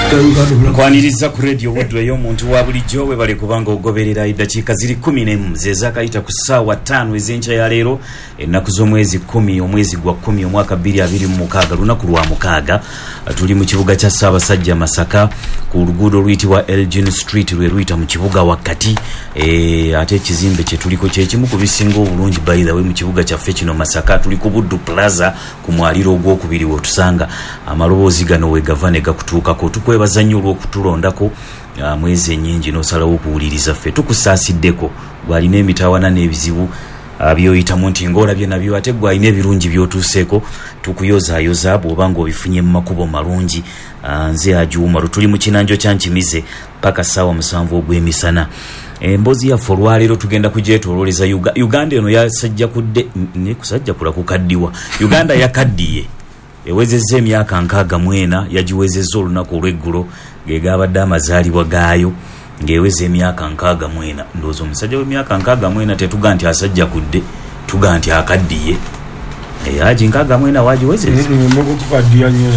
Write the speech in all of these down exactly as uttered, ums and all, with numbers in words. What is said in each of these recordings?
Nkwaniriza ku Radio Buddu ey'omuntu wa bulijjo. Webale kubanga ogoberera. Eddakiika ziri kumi n'emu ze zaakayita ku ssaawa ttaano ez'enkya ya leero, ennaku z'omwezi kkumi, omwezi gwa kkumi, omwaka bbiri abiri mu mukaaga, lunaku lwa mukaaga. Tuli mu kibuga kya Ssaabasajja Masaka, ku luguudo oluyitibwa Elgin Street, lwe luyita mu kibuga wakati. e, ate ekizimbe kyetuliko kyekimu ku bisinga obulungi, by the way, mu kibuga kyaffe kino Masaka. Tuli ku Buddu Plaza ku mwaliro ogwokubiri wetusanga amaloboozi gano wegava ne gakutuukako. Tukwebaza nnyo olw'okutulondako mwezi ennyingi n'osalawo okuwuliriza ffe. Tukusaasiddeko gwalina emitawana n'ebizibu byoyitamu nti ng'olabye nabyo, ate gwalina ebirungi by'otuuseeko, tukuyozaayoza bw'oba ng'obifunye mu makubo malungi. Nze Haji Umaru, tuli mu kinanjo kya Nkimize paka ssaawa musanvu ogw'emisana. Emboozi yaffe olwaleero tugenda kugyetoololeza Uganda eno yasajjakudde kusajjakula kukaddiwa. Uganda yakaddiye, ewezezza emyaka nkaaga mu ena. Yagiwezezza olunaku olw'eggulo, ge gabadde amazaalibwa gaayo, ng'eweza emyaka nkaaga mu ena. Ndowooza omusajja w'emyaka nkaaga mu ena tetuga nti asajjakudde, tuga nti akaddiye. Haji, nkaaga mu ena wagiwezezza? Mukukaddiya nnyo.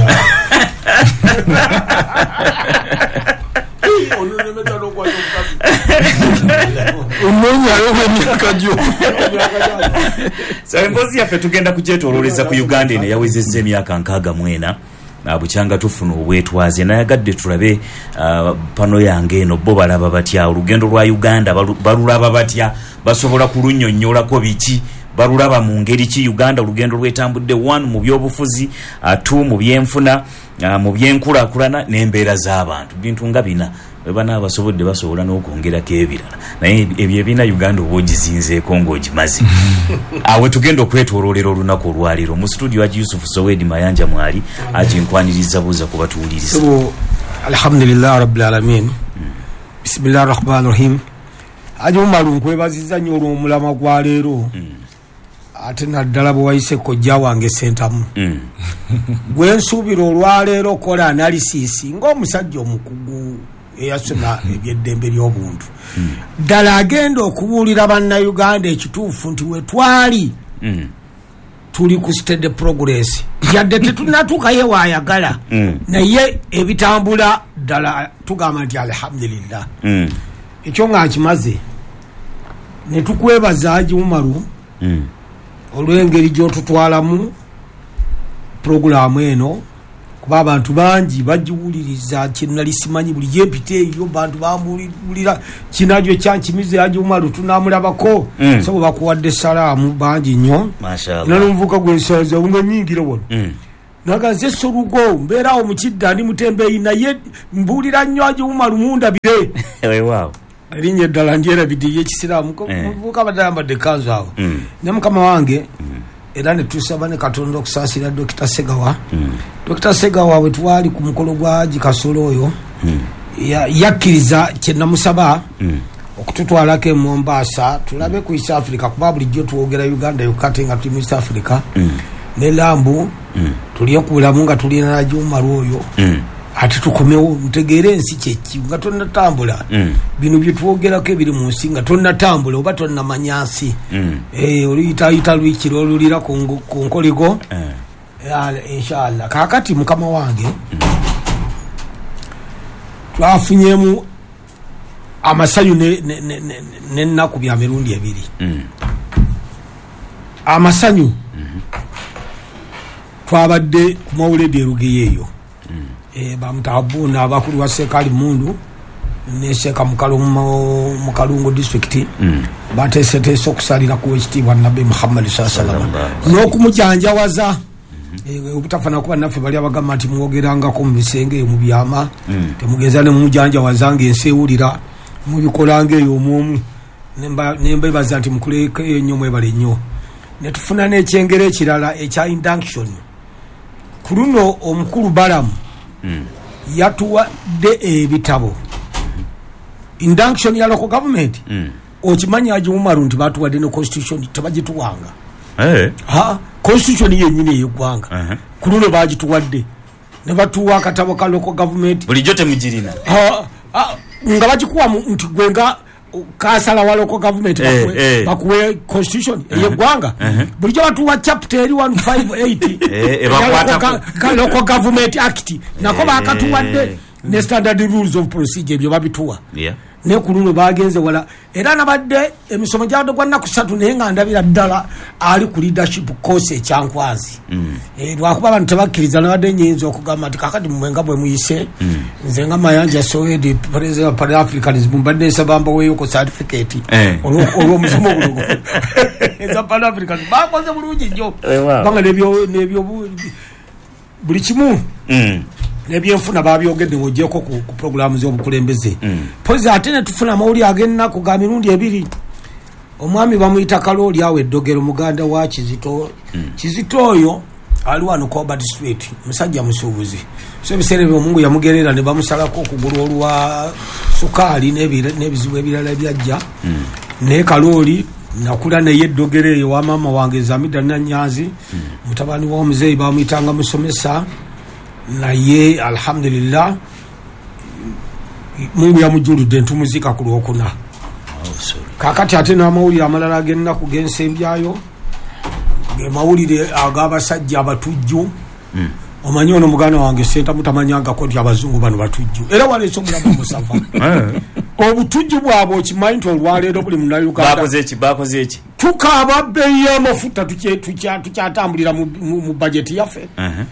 Onoonyayo emyaka gyo. So emboozi yaffe tugenda kugyetoololeza ku Uganda eno eyawezezza emyaka nkaaga mu ena bukyanga tufuna obwetwaze. Nayagadde tulabe uh, pano yange eno, bo balaba batya olugendo lwa Uganda? Balulaba batya? Basobola kulunnyonnyolako biki? Balulaba mu ngeri ki Uganda olugendo lwetambudde? One, mu byobufuzi, uh, two, mu byenfuna, uh, mu byenkulaakulana n'embeera z'abantu. Bintu nga bina bwe banaaba basobodde, basobola n'okwongerako ebirala, naye ebyo ebina Uganda oba ogizinzeeko ng'ogimaze. Awe tugenda okwetooloolera olunaku olwaleero. Mu studio Haji Yusufu Sowedi Mayanja mwali. Haji, nkwaniriza, buuza ku batuwuliriza. Alhamdulillah rabbil alamin, bismillahi rahmani rahim. Haji Umaru, nkwebaziza nnyo olw'omulama gwa leero, ate naddala bwe wayise kojja wange Sentamu, gwe nsuubira olwaleero okola analysis ng'omusajja omukugu eyasoma ebyeddembe ly'obuntu. Ddala agenda okubuulira Bannayuganda ekituufu nti wetwali tuli ku steady progress, yadde tetunatuukayo waayagala, naye ebitambula ddala tugamba nti alhamdulillah. Ekyo nga nkimaze, ne tukwebaza Haji Umaru olw'engeri gy'otutwalamu purogulaamu eno, kuba abantu bangi bagiwuliriza. Kyenali simanyi, buli gyempita eyo bantu bambuulira kinajyo kyankimize Haji Umaru tunamulabako. mm. So bakuwadde salaamu bangi nnyo. Nalonvuka gwensanza nga nyingira wano, mm. nagaze solugo mbeerawo mukidda, ndi mutembeeyi, naye mbuulira nnyo Haji Umaru mundabire. Erinnya eddala ndyerabidde eryekisiraamu. Muvubuka abadde ayambadde ekkanzu awo ne mukama wange. Era ne tusaba ne Katonda okusaasira Dokita Segawa. Dokita Segawa, bwe twali ku mukolo gwa Haji Kasolo oyo, yakkiriza kye namusaba okututwalako e Mombasa tulabe ku East Africa, kuba bulijjo twogera Uganda yokka ate nga tuli mu East Africa ne lambu tulye ku bulamu nga tulina Haji Umaru oyo, ate tukomewo ntegeere ensi kyeki nga tonnatambula. Bino byetwogerako ebiri mu nsi nga tonnatambula oba tonnamanya nsi, oluyitayita lwikiro olulira ku nkoligo, inshallah. Kaakati mukama wange, twafunyemu amasanyu n'ennaku bya mirundi ebiri. Amasanyu, twabadde ku mawuledi erugeyo eyo, bamutabuna abakulu wa Seeka Mundu ne Seeka mu Kalungu District bateeseteese okusalira ku ekitiibwa Nabbi Muhammadi saa salama n'okumujanjawaza, obutafana kuba naffe bali abagamba nti mwogerangako mu bisenge eyo mu byama, temugeza ne mumujanjawaza ng'ensi ewulira, mubikolanga eyo omwomu. Nembebaza nti mukulekeyo nnyo, mwebale nnyo. Netufuna n'ekyengero ekirala ekya induction. Ku luno omukulu Balamu yatuwadde ebitabo, induction ya local government. Okimanyi Haji Umaru nti batuwadde ne constitution? Tebagituwanga. Ha, constitution yennyini ey'eggwanga ku luno bagituwadde, ne batuwa akatabo ka local government. Bulijjo temugirina? Nga bagikuwa nti gwe nga kasala wa local government bakuwe constitution ey'eggwanga? Bulijjo batuwa chapter eri one five eight, Local Government Act, nako bakatuwadde. Ne standard rules of procedure ebyo babituwa. Yeah. Ne ku luno bagenze wala, era nabadde emisomo gyadde gwa nnaku ssatu, naye nga ndabira ddala ali ku leadership course ekyankwazi. Mm. Eh, lwakuba abantu tebakkiriza, nabadde nnyinza okugamba nti kakati mmwe nga bwe muyise, Mm. nze nga Mayanja Sowedi, president of Pan Africanism, mbadde nsaba mbaweeyo ku certificate Eh. olwo- olw'omusomo guno. Eza Pan Africanism bakoze bulungi nnyo, Eh, wow. kubanga n'ebyo- n'ebyo buli kimu Mm. n'ebyenfuna babyogedde ng'ogyeko ku, ku programu z'obukulembeze. Mm. Pozi ate ne tufuna amawulire ag'ennaku ga mirundi ebiri. Omwami bamuyita Kalooli awo eddogero, muganda wa Kizito. Mm. Kizito oyo ali wano ku Albert Street, musajja musuubuzi. So ebiseera ebyo Mungu yamugerera ne bamusalako okugulu olwa sukaali n'ebira-, n'ebizibu ebirala ebyajja. Mm. Naye Kalooli nakula naye eddogero eyo wa maama wange Zamida Nanyanzi, Mm. mutabani wa omuzeeyi bamuyitanga musomesa, naye alhamdulillah Mungu yamujuludde ntumuzika ku Lwokuna. Oh, sorry. Kaakati ate n'amawulire amalala ag'ennaku g'ensembyayo ge mawulire ag'abasajja abatujju. Mm. Omanyi ono muganda wange Ssentamu tamanyangako nti abazungu bano batujju, era waleese omulamu omusava. Eh. Obutujju bwabwe okimanyi nti olwaleero buli Munnayuganda Bakoze eki? Bakoze eki? Tukaaba bbeeyi y'amafuta, tukye-, tukya-, tukyatambulira mu, mu, mu bajeti yaffe. Uh-huh.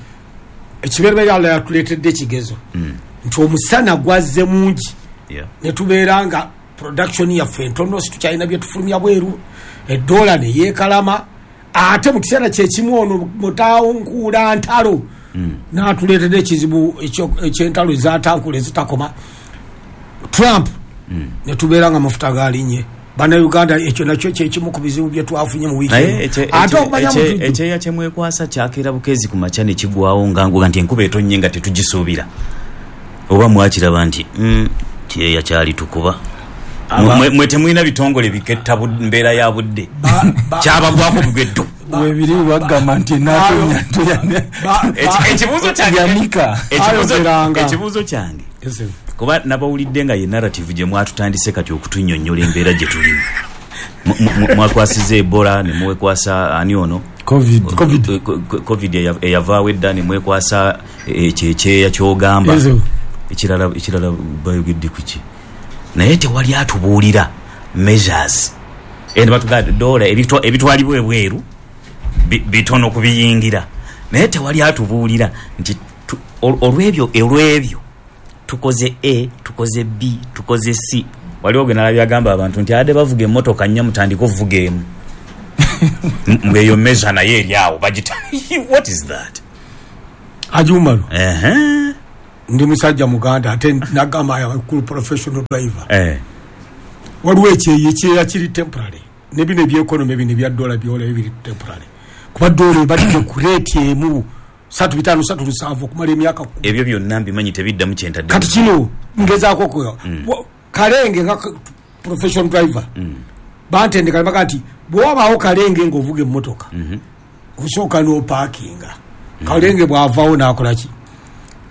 Ekibereberye Allah yatuleetedde ekigezo Mm. nti omusana gwazze mungi, Yeah. ne tubeera nga production yaffe entono, si tukyalina bye tufulumya bweru, eddoola ne yeekalama, ate mu kiseera kye kimu ono mutawunkuula ntalo Mm. n'atuleetedde ekizibu ekyo-, eky'entalo ezatankula ezitakoma Trump, Mm. ne tubeera nga amafuta galinnye. Bannayuganda ekyo nakyo kye kimu ku bizibu bye twafunye mu wiiki Naye eno. ekye-, Ate ekye-, okumanya ekye-, mutujju. ekyeya kye mwekwasa kyakeera bukeezi ku makya ne kigwawo nga nguga nti enkuba etonnye nga tetugisuubira. Oba mwakiraba nti, mm, kyeya kyali tukuba. Aba- Mwe, mwe temulina bitongole biketta bu-, mbeera ya budde. Ba-, ba- Kyabagwako bugeddo. Ba- Webiri bagamba nti enaatonnya ntoya. Ba- Eki-, ekibuuzo kyange- Yanika. ekibuuzo- Ayogeranga. ekibuuzo kyange. Yes, sir. Kuba nabawulidde nga ye narrative gye mwatutandise kati okutunnyonnyola embeera gye tulimu. Mu-, mu-, mu-, mwakwasiza Ebola ne mwekwasa ani ono? Covid. Covid. Ko-, ko-, Covid eya-, eyavaawo edda ne mwekwasa ekyo ekyeya ky'ogamba. Yes, sir. Ekirala, ekirala bayogedde ku ki? Naye tewali atubuulira measures. Eno batugamba dola ebitwa-, ebitwalibwa ebweru bi-, bitono kubiyingira. Naye tewali atubuulira nti tu-, ol-, olw'ebyo, olw'ebyo tukoze A, tukoze B, tukoze C. Waliwo gwe nalabye agamba abantu nti adde bavuga emmotoka nnya mutandike okuvuga emu. M-, ng'eyo measure naye eri awo bagita. What is that? Haji Umaru. Ehe. Ndi musajja muganda ate nagamba I am a cool professional driver. Eh. Waliwo ekyeyo, ekyeya kiri temporary. Ne bino eby'economy bino ebya dollar byola biri temporary. Kuba dollar ebadde ku rate emu satu bitaano satu lusanvu okumala emyaka kkumi. Ebyo byonna mbimanyi tebiddamu kye ntadde. Kati kino ngezaako okukola. Mm. Wo-, Kalenge nga k-, professional driver. Mm. Bantendeka ne bagamba nti bw'obaawo Kalenge ng'ovuga emmotoka, Mm-hmm. osooka n'opaakinga. Mm-hmm. Kalenge bw'avaawo n'akola ki?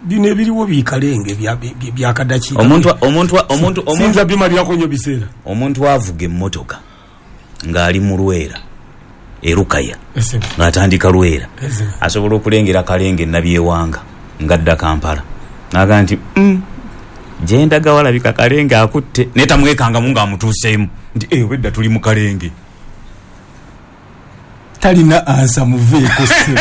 Bino ebiriwo bi Kalenge bya, bya, bya kadakiika. Omuntu, omuntu, omuntu, omuntu, Sinza bimalirako nnyo biseera. Omuntu avuga emmotoka ng'ali mu Lwera, e Lukaya, Ese. ng'atandika Lwera, Ese. asobola okulengera Kalenge Nabyewanga ng'adda Kampala. N'agamba nti, mm, gye ndaga walabika Kalenge akutte, naye tamwekangamu ng'amutuuseemu nti, eh, obwedda tuli mu Kalenge. Talina ansa muveeko ssebo.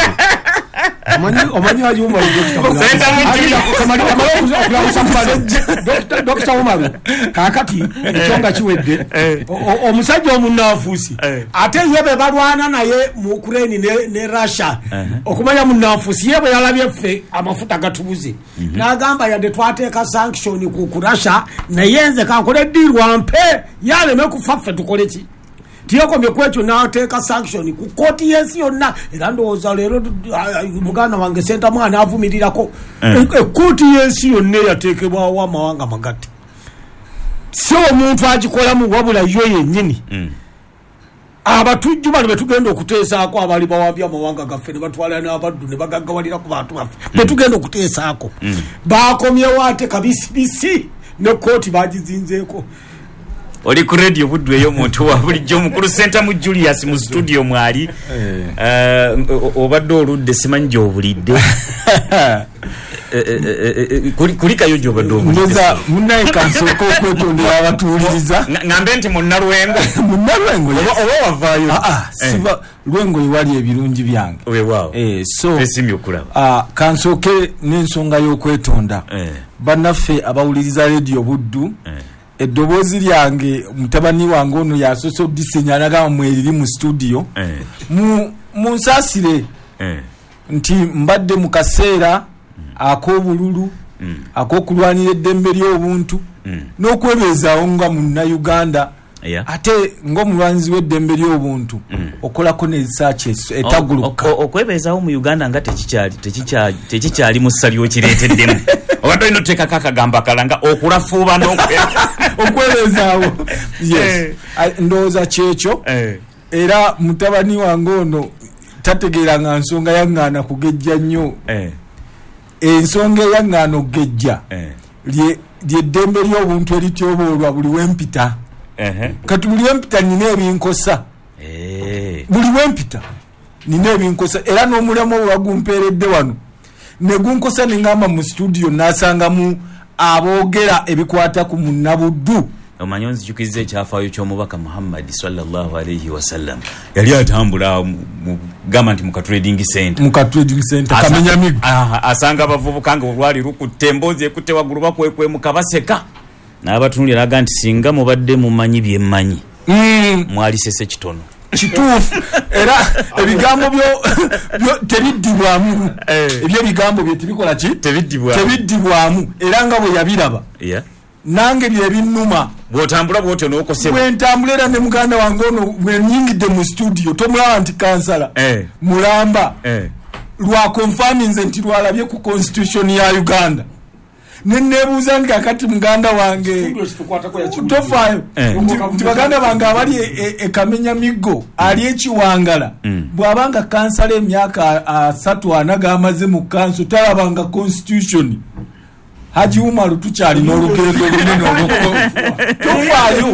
Omanyi, omanyi Haji Umaru Dokita Umaru. Senta mu Haji nti. Umaru, kamali, kamali okuza okulamusa Mubale. Dokita, Dokita Umaru, kaakati ekyo nga kiwedde, Eh. o-, o-, omusajja omunnanfuusi, Eh. ate ye be balwana naye mu Ukraine ne, ne Russia, Uh-huh. okumanya munnanfuusi ye bwe yalabye ffe amafuta gatubuze. Mm-hmm. N'agamba yadde twateeka sanction ku, ku Russia, naye nze kankole deal wampe, yaleme kufa ffe tukole ki? Tiyakomye ku ekyo n'ateeka sanction ku kkooti y'ensi yonna. Era ndowooza leero, ah, ah, muganda wange Ssentamu anaavumirirako. Eh. E-, ekkooti y'ensi yonna eyateekebwawo amawanga magatte, si omuntu agikolamu wabula yo yennyini. Mm. Abatujju bano be tugenda okuteesaako abaali bawambye amawanga gaffe ne batwala n'abaddu ne bagaggawalira ku bantu baffe, be Mm. tugenda okuteesaako. Mm. Baakomyewo ate kabisibisi ne kkooti baagizinzeeko. Oli ku radio Buddu ey'omuntu wa bulijjo omukulu Ssentamu Julius mu studio mwali. Eh. Eh, o-, obadde oludde simanyi gy'obulidde. Kulikayo gy'obadde omuliza munnaye kansooka okwetondera abatuwuliriza. Ngambe nti munnalwengo. Munnalwengo oba wavaayo? Siva lwengo ewali ebirungi byange. Weewaawo. So esimye okulaba. Kansooke n'ensonga y'okwetonda. Bannaffe abawuliriza Radio Buddu, eddoboozi lyange mutabani wange ono yasoose odisenya n'agamba mweriri mu studio. Munsaasire nti mbadde mu kaseera ak'obululu, ak'okulwanira eddembe ly'obuntu n'okwebeezaawo nga munnayuganda, ate ng'omulwanzi w'eddembe ly'obuntu okolako n'esaaki etaguluka. Okwebeezaawo mu Uganda nga tekikyali mu ssali okireeteddemu. Obadde olina oteekako akagambo akalanga okulafuuba n'okwebeezaawo. Yes, ndowooza kyekyo. Era mutabani wange ono tategeeranga nsonga yaŋŋaana kugejja nnyo. Ensonga eyaŋŋaana okugejja lyeddembe ly'obuntu erityoboolwa buli wempita. Kati buli wempita nina ebinkosa. Buli wempita nina ebinkosa. Era n'omulamwa ogwagumpeeredde wano ne gunkosa ne ŋŋamba mu studio n'asangamu aboogera ebikwata ku munnabuddu. Omanyi onzijukizza ekyafaayo ky'omubaka Muhammad sallallahu alaihi wasallam. Yali atambula gamba nti mu ka trading center. Mu ka trading center Kamenyamigo. Asanga abavubuka nga olwali lukutte emboozi ekutte waggulu bakwekwemuka baseka. N'abatunuulira n'agamba nti singa mubadde mumanyi bye mmanyi mwalisese kitono. Kituufu. Era ebigambo byo tebiddibwamu. Ebyo ebigambo bye tebikola ki? Tebiddibwamu. Era nga bwe yabiraba. Nange byebinnuma. Bw'otambula bw'otyo n'okosebwa. Bwe ntambula era ne muganda wange ono bwe nnyingidde mu studio tomulaba nti kansala mulamba lwa confirminze nti lwalabye ku constitution ya Uganda. Ne neebuuza nti kakati muganda wange tofaayo nti baganda bange abali e Kamenyamigo ali ekiwangala bw'abanga kansala emyaka asatu ana g'amaze mu kanso talabanga constitution. Haji Umaru tukyalina olugendo olunene olw'okko. Tofaayo,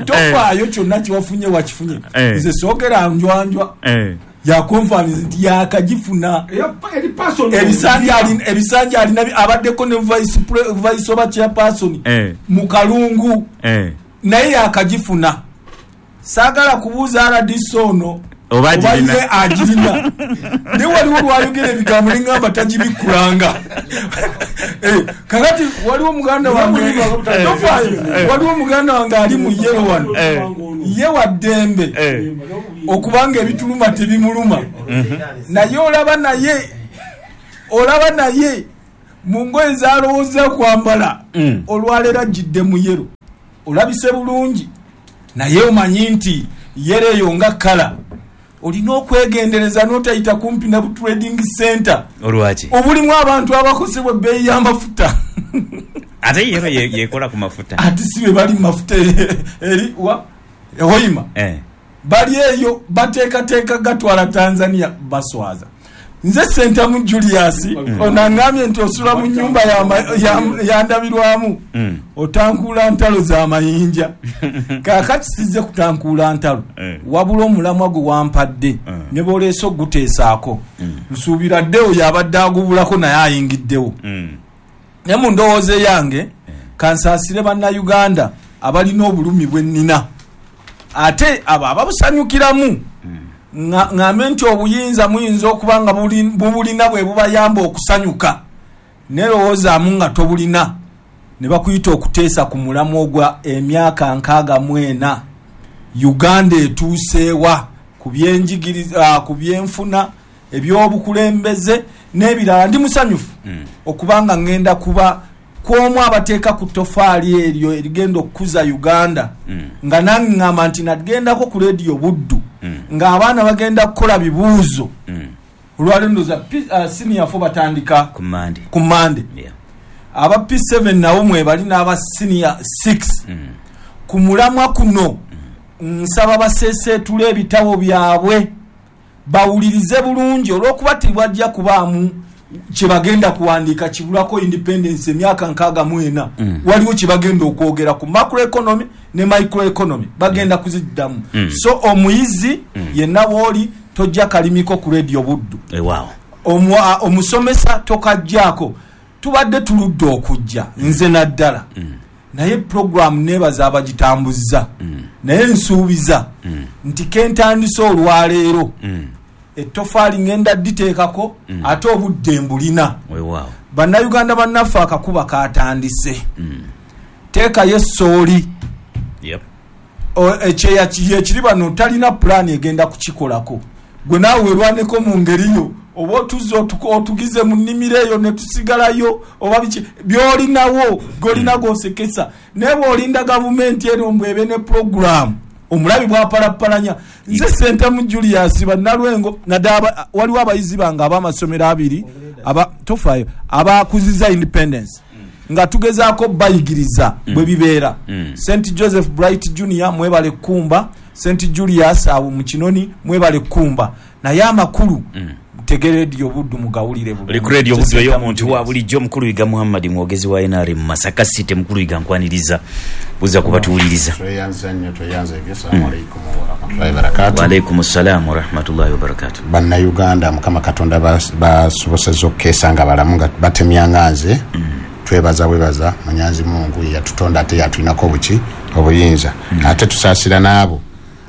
tofaayo kyonna kyewafunye wakifunye. Nze soogera njwanjwa. Yakonfaniza nti yakagifuna. Ebisanja alina abaddeko ne vice oba chairperson mu Kalungu. Naye yakagifuna. Saagala kubuuza R D C ono oba ye agirina. Naye waliwo lwayogera ebigambo ne ŋŋamba tagibikkulanga. Kakati waliwo muganda wange tofaayo, waliwo muganda wange ali mu yero wano. Ye wa ddembe okubanga ebituluma tebimuluma. Naye olaba naye olaba naye mu ngoye z'alowooza kwambala olwaleero ajjidde mu yero. Olabise bulungi naye omanyi nti yero eyo nga kkala olina okwegendereza n'otayita kumpi na trading center. Olwaki? Obulimu abantu abakosebwa ebbeeyi y'amafuta. Ate yero yekola ku mafuta. Ate si be bali mu mafuta eri wa Hoima. Bali eyo bateekateeka gatwala Tanzania baswaza. Nze Ssentamu Julius ono aŋŋambye nti osula mu nnyumba yandabirwamu otankuula ntalo z'amayinja. Kaakati sizze kutankuula ntalo wabula omulamwa gwe wampadde ne bw'oleese oguteesaako nsuubira ddewo yabadde agubulako naye ayingiddewo. Naye mu ndowooza eyange kansaasire bannayuganda abalina obulumi bwe nnina ate abo ababusanyukiramu ŋŋambe nti obuyinza muyinza okuba nga bubulina bwe bubayamba okusanyuka nerowoozaamu nga tobulina ne bakuyita okuteesa ku mulamwa ogwa emyaka nkaaga mu ena Uganda etuuseewa ku byenjigiriza, ku byenfuna, ebyobukulembeze n'ebirala. Ndi musanyufu okubanga ŋŋenda kuba kwomu abateeka ku ttofaali eryo erigenda okukuza Uganda nga nange ŋŋamba nti nagendako ku Radio Buddu ng'abaana bagenda kukola bibuuzo. Olwaleero ndowooza senior four batandika ku Mande. Aba P seven nabo mwebali n'aba senior six. Ku mulamwa kuno nsaba baseeseetule ebitabo byabwe bawulirize bulungi olw'okuba tebajja kubaamu kye bagenda kuwandiika kibulako independence emyaka nkaaga mu ena. Waliwo kye bagenda okwogera ku macroeconomy ne microeconomy bagenda kuziddamu. So omuyizi yenna w'oli tojja kalimiko ku Radio Buddu. Omusomesa tokajjaako. Tubadde tuludde okujja nze naddala. Mm. Naye program nebaza abagitambuza. Mm. Naye nsuubiza mm. nti kentandise olwaleero. Mm. Ettofaali ngenda dditeekako mm. ate obudde mbulina. Weewaawo. Bannayuganda bannaffe akakuba kaatandise. Mm. Teekayo essooli. Yep. Ekyeya ekiri bano talina pulaani egenda kukikolako. Gwe naawe werwaneko mu ngeri yo oba otuzze otugize mu nnimiro eyo ne tusigalayo oba biki by'olinawo g'olina g'osekesa. Naye bw'olinda gavumenti eno mbwebe ne pulogulaamu omulabi bw'apalapalanya. Nze Ssentamu Julius Bannalwengo naddala waliwo abayizi bange ab'amasomero abiri aba tofaayo abakuziza independence nga tugezaako bayigiriza bwe bibeera. Saint Joseph Bright Junior mwebale kkumba, Saint Julius awo mu Kinoni mwebale kkumba. Naye amakulu tegere Radio Buddu mugawulire bulungi. Oli ku Radio Buddu ey'omuntu wa bulijjo. Mukulu Yiga Muhammad mwogezi wa N R M Masaka City. Mukulu Yiga nkwaniriza, buza kubatuwuliriza. Tweyanza nnyo, tweyanza ebyo. Assalamu alaikum wa rahmatullahi wa barakatuh. Wa alaikum assalam wa rahmatullahi wa barakatuh. Bannayuganda Mukama Katonda basobosezza okukeesa nga balamu nga batemyanga nze. Twebaza webaza Munyanzi Mungu yatutonda ate yatulinako obuki obuyinza. Ate tusaasira n'abo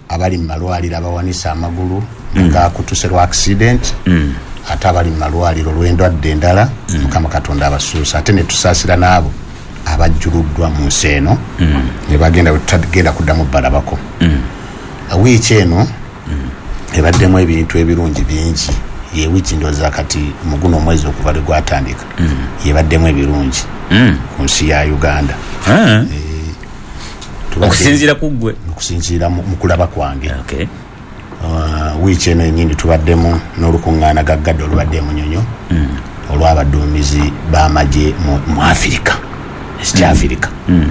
abali mu malwaliro abawanisa amagulu nga akutuse lwa accident, ate abali mu malwaliro olw'endwadde endala, Mukama Katonda abasuusa. Ate ne tusaasira n'abo abajjuluddwa mu nsi eno ne bagenda tutagenda kuddamu balabako. Wiiki eno ebaddemu ebintu ebirungi bingi. Ye wiiki ndowooza kati mu guno omwezi okuva lwe gwatandika yebaddemu ebirungi ku nsi ya Uganda. Okusinziira ku ggwe? Okusinziira mu kulaba kwange. Okay. Uh, wiiki eno yennyini tubaddemu n'olukuŋŋaana gaggadde olubadde e Munyonyo olw'abaduumizi b'amagye mu Afirika, East Africa.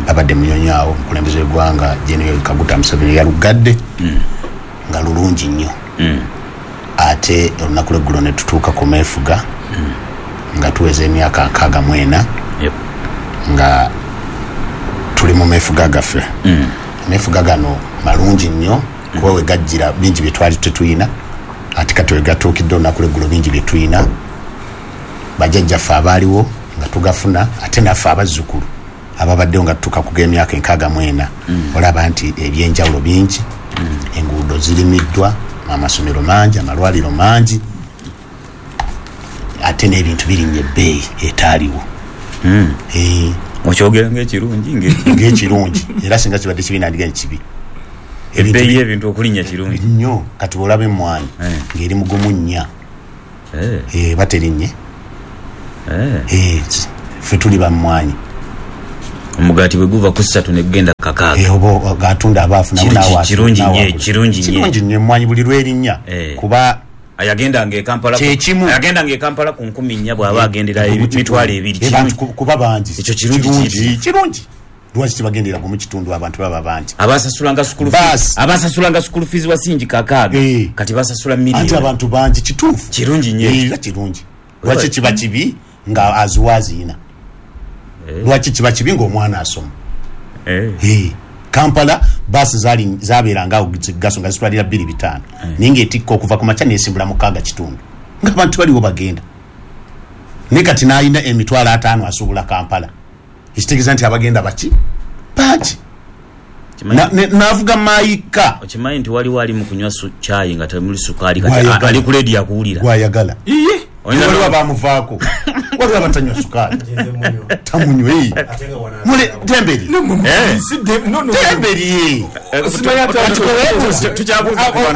Babadde Munyonyo awo omukulembeze w'eggwanga General Kaguta Museveni yalugadde nga lulungi nnyo. Ate olunaku lw'eggulo ne tutuuka ku meefuga nga tuweza emyaka nkaaga mu ena nga tuli mu meefuga gaffe. Ameefuga gano malungi nnyo kuba we gajjira bingi bye twali tetuyina, ate kati we gatuukidde olunaku lw'eggulo bingi bye tuyina. Bajjajjaffe abaaliwo nga tugafuna, ate naffe abazzukulu ababaddewo nga tutuuka ku g'emyaka enkaaga mu ena olaba nti ebyenjawulo bingi, enguudo zirimiddwa, amasomero mangi, amalwaliro mangi, ate n'ebintu birinnya ebbeeyi etaaliwo. Okyogera ng'ekirungi ng'ekirungi era singa kibadde kibi nandiga nti kibi. Ebbeeyi y'ebintu okulinnya kirungi nnyo. Kati bw'olaba emmwanyi ng'eri mugumu nnya eba terinnye. Ffe tuli bammwanyi. Omugaati bwe guva ku ssatu ne gugenda kakaaga oba gatunda abaafu nabo. Kirungi nnyo, kirungi nnyo, kirungi nnyo emmwanyi buli lw'erinnya kuba ayagendanga e Kampala ayagendanga e Kampala ku nkumi nnya bw'aba agendera emitwalo ebiri kuba bangi. Ekyo kirungi, kirungi. Lwaki tebagendera gumu kitundu abantu baba bangi? Abasasulanga school fees, abasasulanga school fees wasingi kakaaga kati basasula millioni. Anti abantu bangi, kituufu, kirungi nnyo era kirungi. Lwaki kiba kibi nga aziwaziina? Lwaki kiba kibi ng'omwana asoma? Kampala baasi zaali zabeeranga awo gaso nga zitwalira bbiri bitaano, naye ng'etikka okuva ku makya n'esimbula mukaaga kitundu ng'abantu baliwo bagenda. Naye kati n'alina emitwalo ataano asuubula Kampala, ekitegeeza nti abagenda baki bangi. N'avuga maayika. Okimanyi nti waliwo ali mu kunywa caayi nga temuli sukaali, kati ali ku leediyo akuwulira gwayagala. Waliwo abamuvaako, waliwo abatanywa sukaali tamunywa. Temberi temberi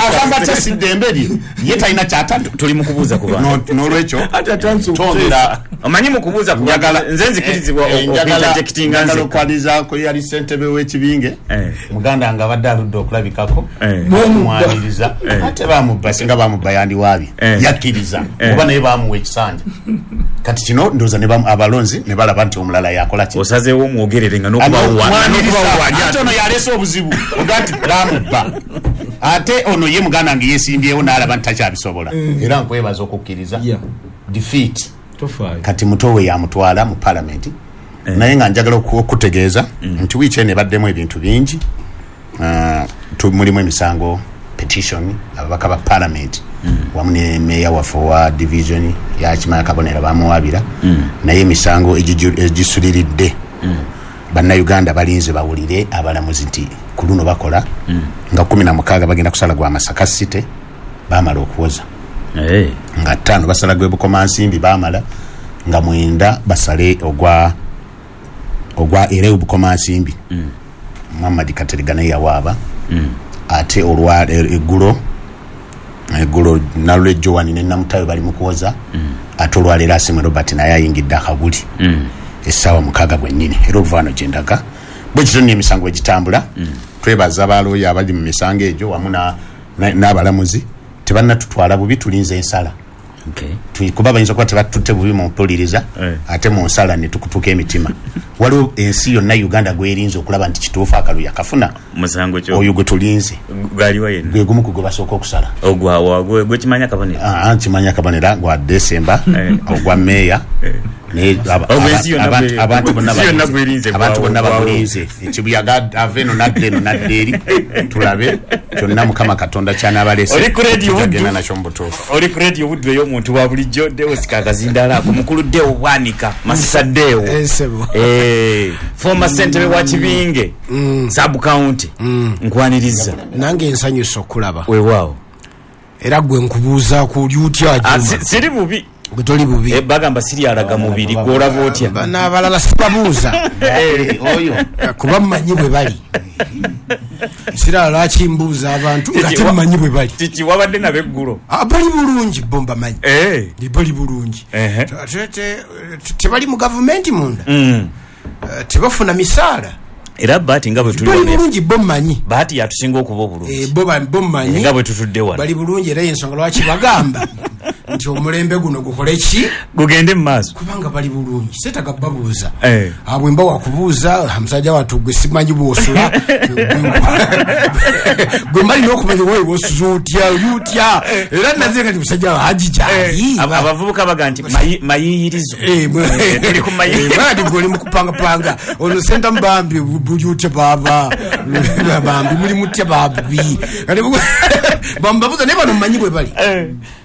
agamba tasidde emberi ye talina kyatanywa. Tuli mu kubuuza ku bantu n'olwekyo twongera omanyi mu kubuuza ku bantu nze nzikirizibwa okuinterjectinga nze okwanirizaako yali ssentebe w'ekibinge muganda nga abadde aludde okulabikako mwaniriza, ate bamubba singa bamubba yandiwaabye yakkiriza oba naye bamuwa ekisanja. Kati kino ndowooza ne abalonzi ne balaba nti omulala yakola ki. Osazeewo omwogerere nga n'okubawa ate ono yaleese obuzibu oga nti bamubba, ate ono ye muganda nge yeesimbyewo n'alaba nti takyabisobola. Era nkwebaza okukkiriza defeat. Kati muto we yamutwala mu palamenti. Naye nga njagala okutegeeza nti wiiki eno ebaddemu ebintu bingi. Mulimu emisango petition ababaka ba parliament wamu ne meya waffe wa division ya Kimanya Kabonera bamuwabira, naye emisango egisuliridde bannayuganda balinze bawulire abalamuzi nti ku luno bakola nga kumi na mukaaga bagenda kusala gwa Masaka City bamala okuwoza, nga ttaano basala gwe Bukomansimbi bamala, nga mwenda basale ogwa ogwa era Bukomansimbi Muhammad Katerega naye yawaaba, ate olwa eggulo eggulo Nalule Joan ne Namutayo bali mu kuwoza, ate olwaleero Asiimwe Robert naye ayingidde akaguli essaawa mukaaga gwennyini. Era oluvaano gye ndaga bwe kityo nno emisango egitambula. Twebaza abalooya abali mu misango egyo wamu n'abalamuzi, tebannatutwala bubi, tulinze ensala. Kuba bayinza okuba tebatutte bubi mu mpuliriza, ate mu nsala ne tukutuka emitima. Waliwo ensi yonna Uganda gwerinze okulaba nti kituufu akalu yakafuna oyo gwe tulinze gwe gumu ku gwe basooka okusala Kimanya Kabonera gwa Desemba ogwa meeya, abantu bonna bagulinze ekibuyaga ava eno nadda eno nadda eri, tulabe kyonna Mukama Katonda ky'anaabalese tugenda nakyo mu butuufu. Oli ku Radio Buddu ey'omuntu wa bulijjo, Deo Sikakazindaala ako mukulu Deo Bwanika Masisa Deo, former ssentebe wa Kibinge sub county, nkwaniriza. Nange nsanyusa okulaba. Weewaawo. Era gwe nkubuuzaako oli otya? Siri bubi. Toli bubi. Bagamba siri alaga mubiri, gw'olaba otya? Bano abalala sibabuuza kuba mmanyi bwe bali. Sirala lwaki mbuuza abantu nga temmanyi bwe bali? Kiki wabadde nabo eggulo? Bali bulungi bo mbamanyi, bali bulungi. Tebali mu gavumenti munda, tebafuna misaala. Era Bahati nga bwe tuli bali bulungi bo mmanyi. Bahati yatusinga okuba obulungi. Bo mmanyi nga bwe tutudde wano bali bulungi, era ensonga lwaki bagamba nti omulembe guno gukole ki, gugende mu maaso, kubanga bali bulungi. Seetaaga babuuza abwe mba wakubuuza musajja wattu gwe simanyi bw'osula, gwe mbalina okumanya wowe bw'osuza otya oli otya. Era naze kati musajja wa Haji gyali. Abavubuka baga nti mayiyirizo, tuli ku mayiyirizo gwe oli mu kupangapanga ono senta mbambi buli otya baaba bambi muli mutya babi bambabuuza naye bano mmanyi bwe bali.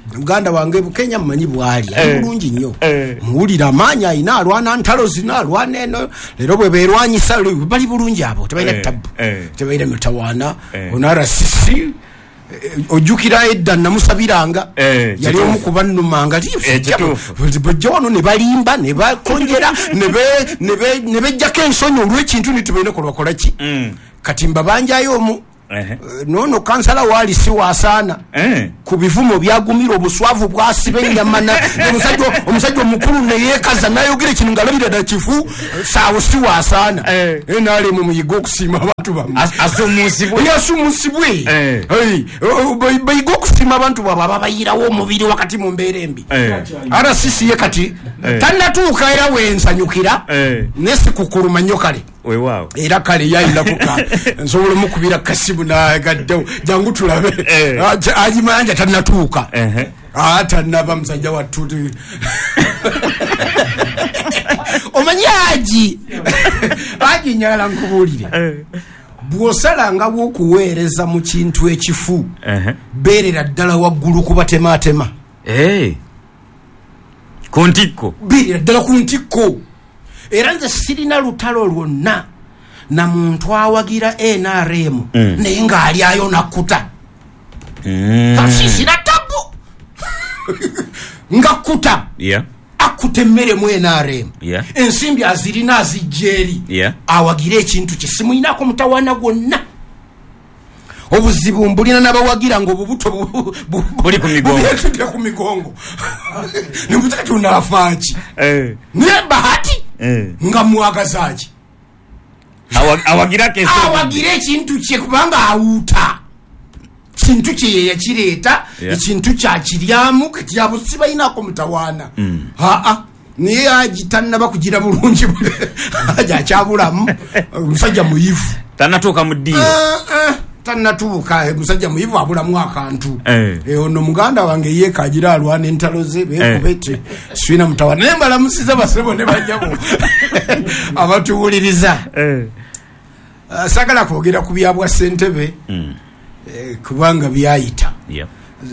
Muganda wange Bukenya mmanyi bwali ali bulungi nnyo, muwulira amaanyi ayina, alwana ntalo zino alwana eno, leero bwe beerwanyisa bali bulungi abo, tebalina tabbu, tebalina mitawaana. Ono R C C ojjukira edda namusabiranga, yali omu ku bannumanga bajja wano ne balimba ne bakonjera ne bejjako ensonyi olw'ekintu ne tebalina kwe bakola ki. Kati mbabanjayo omu nono kansala wali si wasaana ku bivumo byagumira obuswavu bwasiba ennyama, omusajja omukulu neyeekaza nayogera ekintu ng'alabira ddala kifu, saawo si wasaana. Naalemu muyiga okusiima abantu bammwe, yasumusibwe bayiga okusiima abantu baabwe ababayirawo omubiri wakati mu mbeera embi. R C C ye kati tannatuuka era wensanyukira naye sikukuluma nnyo kale. Era kale yayinakuka nsobola omukubira kasimu nagaddewo jangu tulabe agimayanja tannatuuka tannaba musajja wattu. Omanyi Haji Haji njagala nkubuulire, bw'osalangawo okuweereza mu kintu ekifu beerera ddala waggulu kubatematema ku ntikko, beerera ddala ku ntikko. Era nze sirina lutalo lwonna na muntu awagira N R M naye ng'alyayo nakkuta. Sirina tabu nga kkuta akkuta emmere mu N R M, ensimbi azirina azijja eri awagire ekintu kye, simuyinako mutawaana gwonna. Obuzibu mbulina n'abawagira ng'obubuto buli ku migongo nemutaka tunaafaaki naye Bahati nga mwagazaaki awagira ekintu kye kubanga awuuta kintu kye ye yakireeta, ekintu kyakiryamu kati abo sibayinako mutawaana. Aa naye Haji tannaba kugira bulungi, Haji akyabulamu omusajja muyivu tannatuuka mu ddiiro, tannatuuka musajja muyivu abulamu akantu. Ono muganda wange ye kagira alwana entalo ze beekubete sirina mutawaana. Naye mbalamusiza basebo ne bajjabo abatuwuliriza. Saagala kwogera ku byabwa ssentebe. Eh, kubanga byayita. Yeah.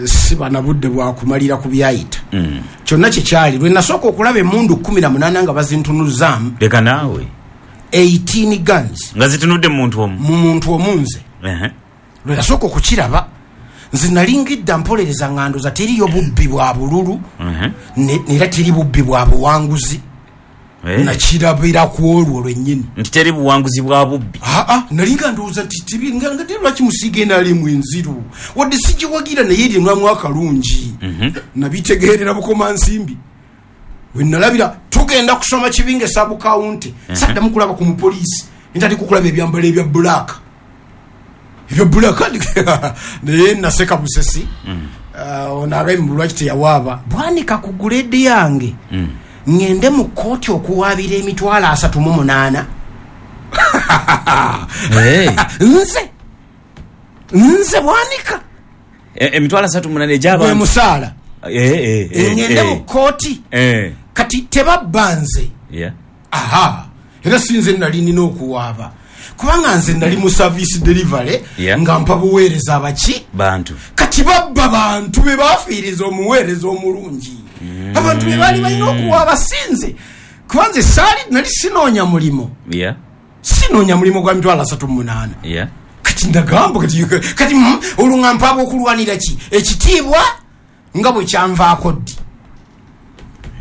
Siba na budde bwa kumalira ku byayita. Mm. Kyonna kyekyali lwe nasooka okulaba emmundu kkumi na munaana nga bazintunuzaamu. Leka naawe. eighteen guns. Nga zitunudde mu muntu omu. Mu muntu omu nze. Uh-huh. Lwe nasooka okukiraba nze nalingidda mpolereza ngandoza teriyo bubbi bwa bululu. Uh-huh. Ne, era teri bubbi bwa buwanguzi. Hey. Nakirabira ku olwo lwennyini. Nti teri buwanguzi bwa bubbi. Aa, nalinga ndowooza nti tibi nga nga teri lwaki musiiga enalimu enziru. Wadde sigiwagira naye erinwamu akalungi. Mm-hmm. Nabitegeerera Bukomansimbi. We nalabira tugenda kusoma Kibinge sub county. Mm-hmm. Saddamu kulaba ku mupoliisi. Ntandika okulaba ebyambalo ebya black. Ebya black naye naseka busesi. Mm. Uh, ono agambye lwaki teyawaaba. Bwanika ku grade yange. Mm. Ngende mu kkooti okuwaabira emitwalo asatu mu munaana. Hey. Nze nze Bwanika emitwalo asatu mu munaana egy'abantu. Gwe musaala. Eh, eh, eh, ngende eh. mu kkooti. Eh. Kati tebabba nze. Yeah. Aha. Era si nze nali nina okuwaaba. Kubanga nze nali mu service delivery. Yeah. Nga mpa buweereza abaki? Bantu. Kati babba bantu be bafiiriza omuweereza omulungi. Mm. Abantu be baali balina okuwaaba sinze. Kuba nze saali nali sinoonya mulimu. Yeah. Sinoonya mulimu gwa mitwalo asatu mu munaana. Yeah. Kati ndagamba kati kati mm, olwo nga mpaaba okulwanira ki? Ekitiibwa nga bwe kyanvaako ddi.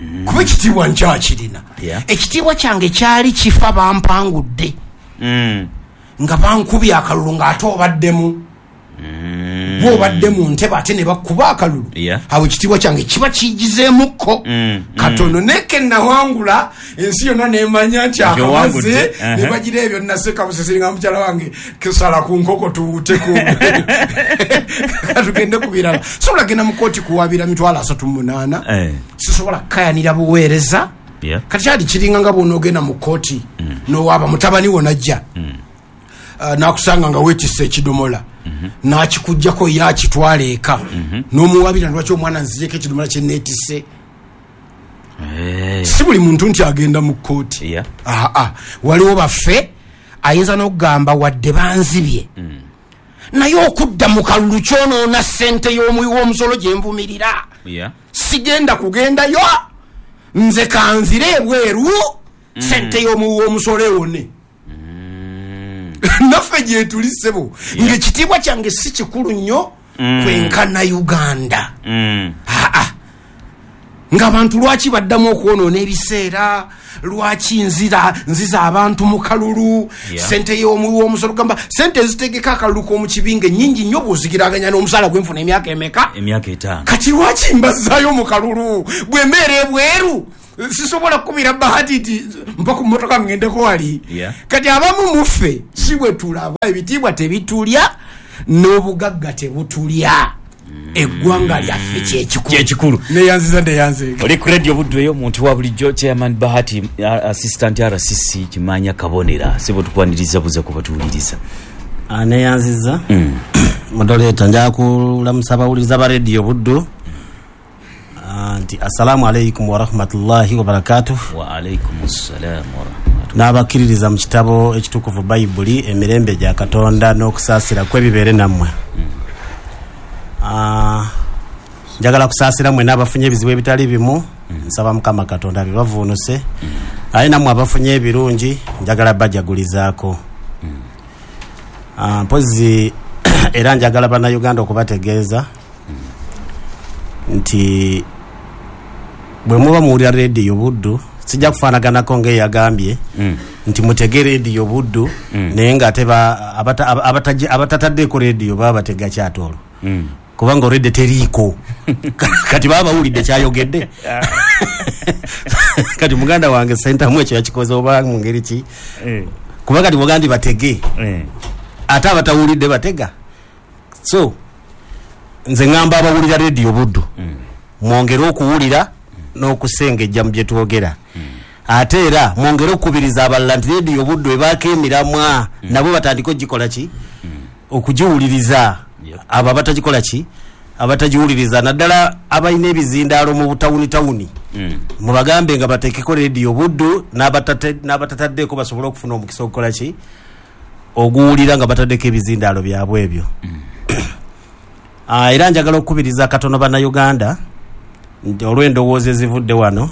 Mm. Kuba ekitiibwa nkyakirina. Yeah. Ekitiibwa kyange kyali kifa bampangudde. Mm. Nga bankubye akalulu ng'ate obaddemu. Mm. Bw'obadde mu ntebe ate ne bakuba akalulu. Yeah. Awo ekitiibwa kyange kiba kigizeemukko. Mm. Katono mm. Neke nawangula ensi yonna n'emanya nti akamaze uh-huh. ne bagira ebyo naseka busesi nga mukyala wange kesala ku nkoko tuwute ku katugende ku birala. Sobola genda mu kkooti kuwaabira mitwalo asatu mu munaana. Eh. Sisobola kukayanira buweereza. Yeah. Kati kyali kiringa nga bw'onoogenda mu kkooti mm. n'owaaba mutabani wo n'ajja. Mm. Uh, n'akusanga nga weetisse ekidomola. Mm-hmm. N'akikuggyako ye akitwala eka. Mm-hmm. N'omuwaabira lwaki omwana nzigyeko ekidomola kye neetisse. Hey. Si buli muntu nti agenda mu kkooti. Yeah. Aa, waliwo baffe ayinza n'okugamba wadde banzibye. Mm. Naye okudda mu kalulu kyonoona ssente y'omuwi w'omusolo gye nvumirira. Yeah. Sigenda kugendayo. Nze kanzire ebweru mm. ssente y'omuwi w'omusolo ewone. Mm. Naffe gye tuli ssebo. Yeah. Ng'ekitiibwa kyange si kikulu nnyo mm. kwenkana Uganda. Mm. Aa. Ng'abantu lwaki baddamu okwonoona ebiseera, lwaki nzira nziza abantu mu kalulu. Yeah. Ssente y'omuwi w'omusolo gamba ssente ezitegeka akalulu k'omu kibinge nnyingi nnyo bw'ozigiraganya n'omusaala gwe nfuna emyaka emeka? Emyaka etaano. Kati lwaki mbazzaayo mu kalulu bwe mbeera ebweru? Sisobola kukubira Bahati nti mpa ku mmotoka ngendeko wali. Yeah. Kati abamu muffe si bwe tulaba, ebitiibwa tebitulya n'obugagga tebutulya. Eggwanga lyaffe kyekikulu. Kyekikulu. Neyanziza neyanze. Oli ku radio Buddu eyo omuntu wa bulijjo Chairman Bahati Assistant R C C Kimanya Kabonera. Sebo tukwaniriza buza kubatuwuliriza. Neyanziza. Mm. Moderator nja kulamusa abawuliriza ba radio Buddu. Nti assalamu alaikum wa rahmatullahi wa barakatuh. Wa alaikum assalam wa rahmatullahi. N'abakkiririza mu kitabo ekitukuvu Bayibuli emirembe gya Katonda n'okusaasira kwebibeere nammwe. Mm. Ah, njagala kusaasira mwenna abafunye ebizibu ebitali bimu. Mm. Nsaba Mukama Katonda bibavuunuse. Mm. Aye nammwe abafunye ebirungi njagala bajagulizaako. Mm. Ah, mpozi era njagala bannayuganda okubategeeza mm. nti bwe muba muwulira rediyo Buddu sijja kufaanaganako ng'eyagambye mm. nti mutege rediyo Buddu mm. naye ng'ate abataddeeko rediyo baba batega kyatoolo. Mm. Kubanga already teriiko. Kati baba bawulidde kyayogedde. Kati muganda wange Sentamu ekyo yakikoze oba mu ngeri ki? Eh. Kuba kati mugandi batege. Eh. Ate abatawulidde batega. So nze ngamba abawulira rediyo Buddu. Mm. Mwongere okuwulira n'okusengejja mu bye twogera. Mm. Ate era mwongere okukubiriza abalala nti rediyo Buddu ebaako emiramwa mm. nabo batandike okugikola ki? Mm. Okugiwuliriza. Yep. Abo abatagikola ki? Abatagiwuliriza naddala abalina ebizindaalo mu butawuni tawuni. Mm. Mubagambe nga bateekeko rediyo Buddu n'abatataddeeko basobole okufuna omukisa okukola ki? Oguwulira nga bataddeko ebizindaalo byabwe ebyo. Mm. Uh, era njagala okukubiriza katono bannayuganda nti olw'endowooza ezivudde wano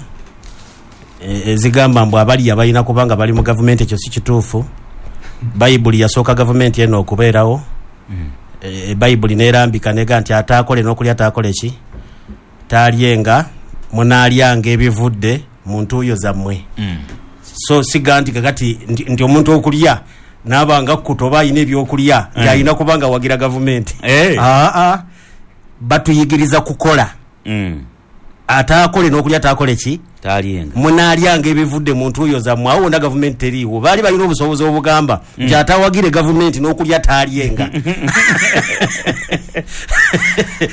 ezigamba mbu abali abalina kubanga bali mu gavumenti, ekyo si kituufu. Bayibuli yasooka gavumenti eno okubeerawo. mm. E, Bayibuli neerambika nega nti ataakole n'okulya taakole ki taalyenga, munaalyanga ebivudde mu ntuuyo zammwe. mm. So siga nti kakati nti, nti omuntu okulya n'abanga kkuta oba ayina ebyokulya mm. alina kubanga wagira gavumenti. Hey. Aa, batuyigiriza kukola. mm. Ataakole n'okulya taakole ki taalyenga, munaalyanga ebivudde mu ntuuyo zammwe. Awo wonna gavumenti teriiwo, baali balina obusobozi obugamba nti mm. atawagire gavumenti n'okulya taalyenga.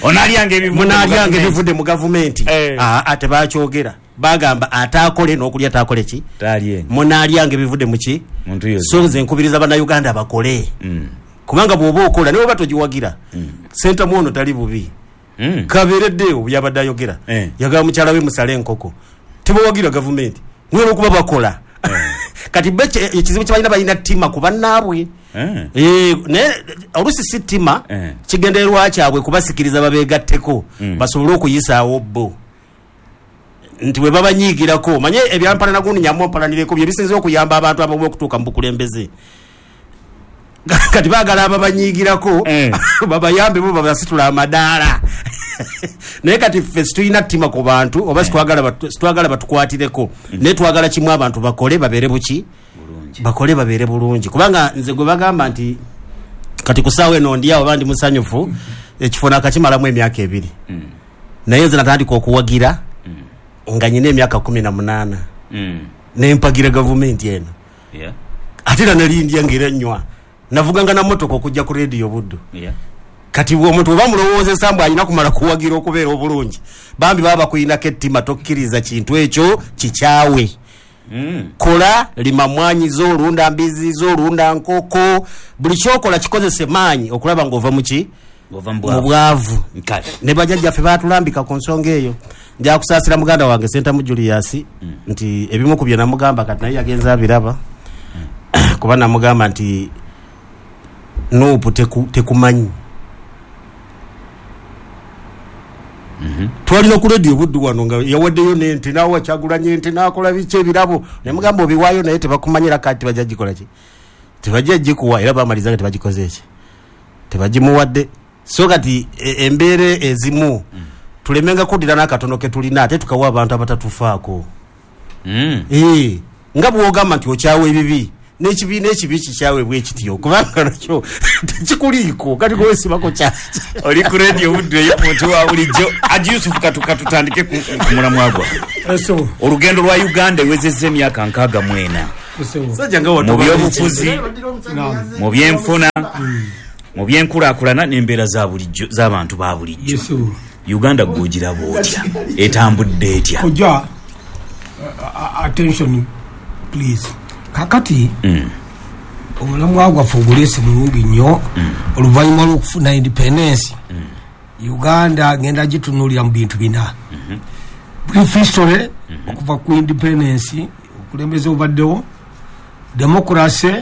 Onaalyanga ebivudde, munaalyanga ebivudde mu gavumenti. Hey. Aa, tebakyogera, bagamba ataakole n'okulya taakole ki taalyenga, munaalyanga ebivudde mu ki mu ntuuyo. So nze nkubiriza bannayuganda bakole. mm. Kubanga bw'oba okola naye oba togiwagira. mm. Sentamu ono tali bubi. mm. Kabeereddeyo yabadde ayogera. eh. Yagamba mukyala we musale enkoko, tebawagira gavumenti naye olwokuba bakola. eh. Kati bo ekizibu kye balina, balina ttima ku bannaabwe. eh. Eh, naye oluusi si ttima, eh. kigendererwa kyabwe kubasikiriza babeegatteko mm. basobole okuyisaawo bo nti bwe babanyiigirako. Manye ebyampalana gundi nyamu mpalanireko bye bisinze okuyamba abantu abamu okutuuka mu bukulembeze. Kati baagala ababanyiigirako eh. babayambe bo babasitula amadaala. Naye kati ffe situlina ttima ku bantu oba situagala situagala batukwatireko, naye twagala kimu, abantu bakole babeere buki bulungi, bakole babeere bulungi. Kubanga nze gwe bagamba nti kati ku ssaawa eno ndi awo oba ndi musanyufu, ekifo nakakimalamu emyaka ebiri. mm. Naye nze natandika okuwagira mm. nga nyina emyaka kumi na munaana. mm. Nempagira gavumenti eno. yeah. Ate era nali ndya ng'era nnywa, navuganga na mmotoka okujja ku rediyo Buddu. yeah. Kati omuntu oba mulowoozesa mbu alina kumala kuwagira okubeera obulungi, bambi baba bakuyinako ettima, tokkiriza kintu ekyo kikyawe. mm. Kola, lima mwanyi zo, olunda mbizi zo, olunda nkoko, buli kyokola kikozese maanyi okulaba ng'ova muki Ng'ova mu bwavu. Kale. Ne bajjajjaffe baatulambika ku nsonga eyo. Nja kusaasira muganda wange Sentamu Julius mm. nti ebimu ku bye namugamba kati naye yagenze abiraba. mm. Kuba namugamba nti Nuupu teku, tekumanyi. mm -hmm. Twalina ku rediyo Buddu wano nga yawaddeyo n'ente n'awa Kyagulanyi ente n'akola biki ebirabo, ne mugamba obiwaayo naye tebakumanyira kati tebajja gikola ki, tebajja gikuwa, era bamaliza nga tebagikoze eki, tebagimuwadde. So kati e, embeera ezimu mm. tulemenga kuddira n'akatono ke tulina ate tukawa abantu abatatufaako. mm. Eh, nga bw'ogamba nti okyawa ebibi n'ekibiina ekibi kikyawe bwe kityo, kubanga nakyo tekikuliiko kati gwesibako kyaki. Oli ku rediyo Buddu eyo muntu wa bulijjo. Haji Yusuf, katutandike ku mulamwa gwa Eso, olugendo lwa Uganda ewezezza emyaka nkaaga mu ena eso. Sajja nga mu byobufuzi, mu byenfuna, mu byenkulaakulana n'embeera za bulijjo z'abantu ba bulijjo. Yesu. Uganda gw'ogiraba otya, etambudde etya? Kojja, uh, uh, attention please. Kakati mm. omulamwa gwaffe oguleese mulungi nnyo. mm. Oluvannyuma lw'okufuna independence, mm. Uganda ngenda gitunuulira mu bintu bina. mm -hmm. Brief history mm -hmm. okuva ku independence, obukulembeze obubaddewo, democracy,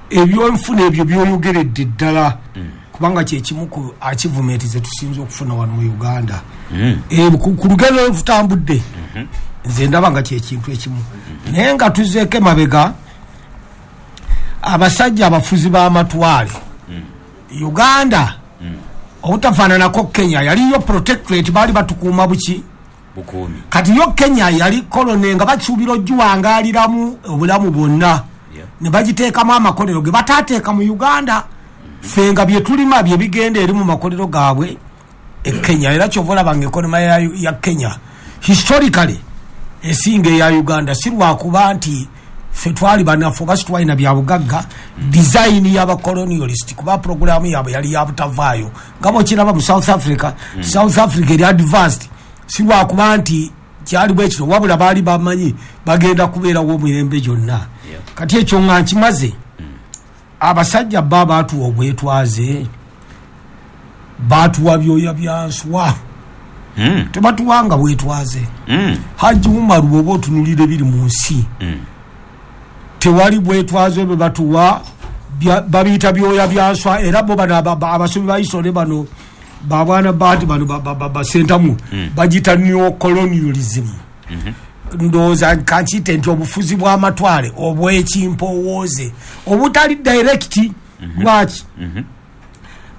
ebyenfuna ebyo byoyogeredde ddala, mm. kubanga kyekimu ku achievement ze tusinze okufuna wano mu Uganda. mm. E, ku ku lugendo lwetutambudde mm -hmm. nze ndaba nga kyekintu ekimu. Naye nga tuzeeko emabega, abasajja abafuzi b'amatwale mm. Uganda mm. obutafaananako Kenya yaliyo protectorate, baali batukuuma buki bukuumi. Kati yo Kenya yali kolone nga basuubira ogiwangaaliramu obulamu bwonna, yeah. ne bagiteekamu amakolero ge bataateeka mu Uganda. Ffe nga bye tulima bye bigenda eri mu makolero gaabwe e Kenya. Era kyova olaba nga economy ya, ya Kenya historically esinga eya Uganda, si lwakuba nti ffe twali banafu oba situwalina bya bugagga, design y'abacolonialist, kuba programu yaabwe yali ya butavaayo nga bw'okiraba mu South Africa. mm. South Africa eri advanced si lwakuba nti kyali bwe kityo, wabula baali bamanyi bagenda kubeerawo emirembe gyonna. Yeah. Kati ekyo nga nkimaze, mm. abasajja ba baatuwa obwetwaze, baatuwa byoya bya nswa. mm. Tebatuwanga bwetwaze. mm. Haji Umaru bw'oba otunuulira ebiri mu nsi, mm. tewali bwetwaze bwe batuwa, babiyita byoya bya nswa. Era bo bano abasomi ba history bano Babwana baati bano basentamu bagita neocolonialism. Ndowooza kankiyite nti obufuzi bw'amatwale obw'ekimpowooze obutali direct. Lwaki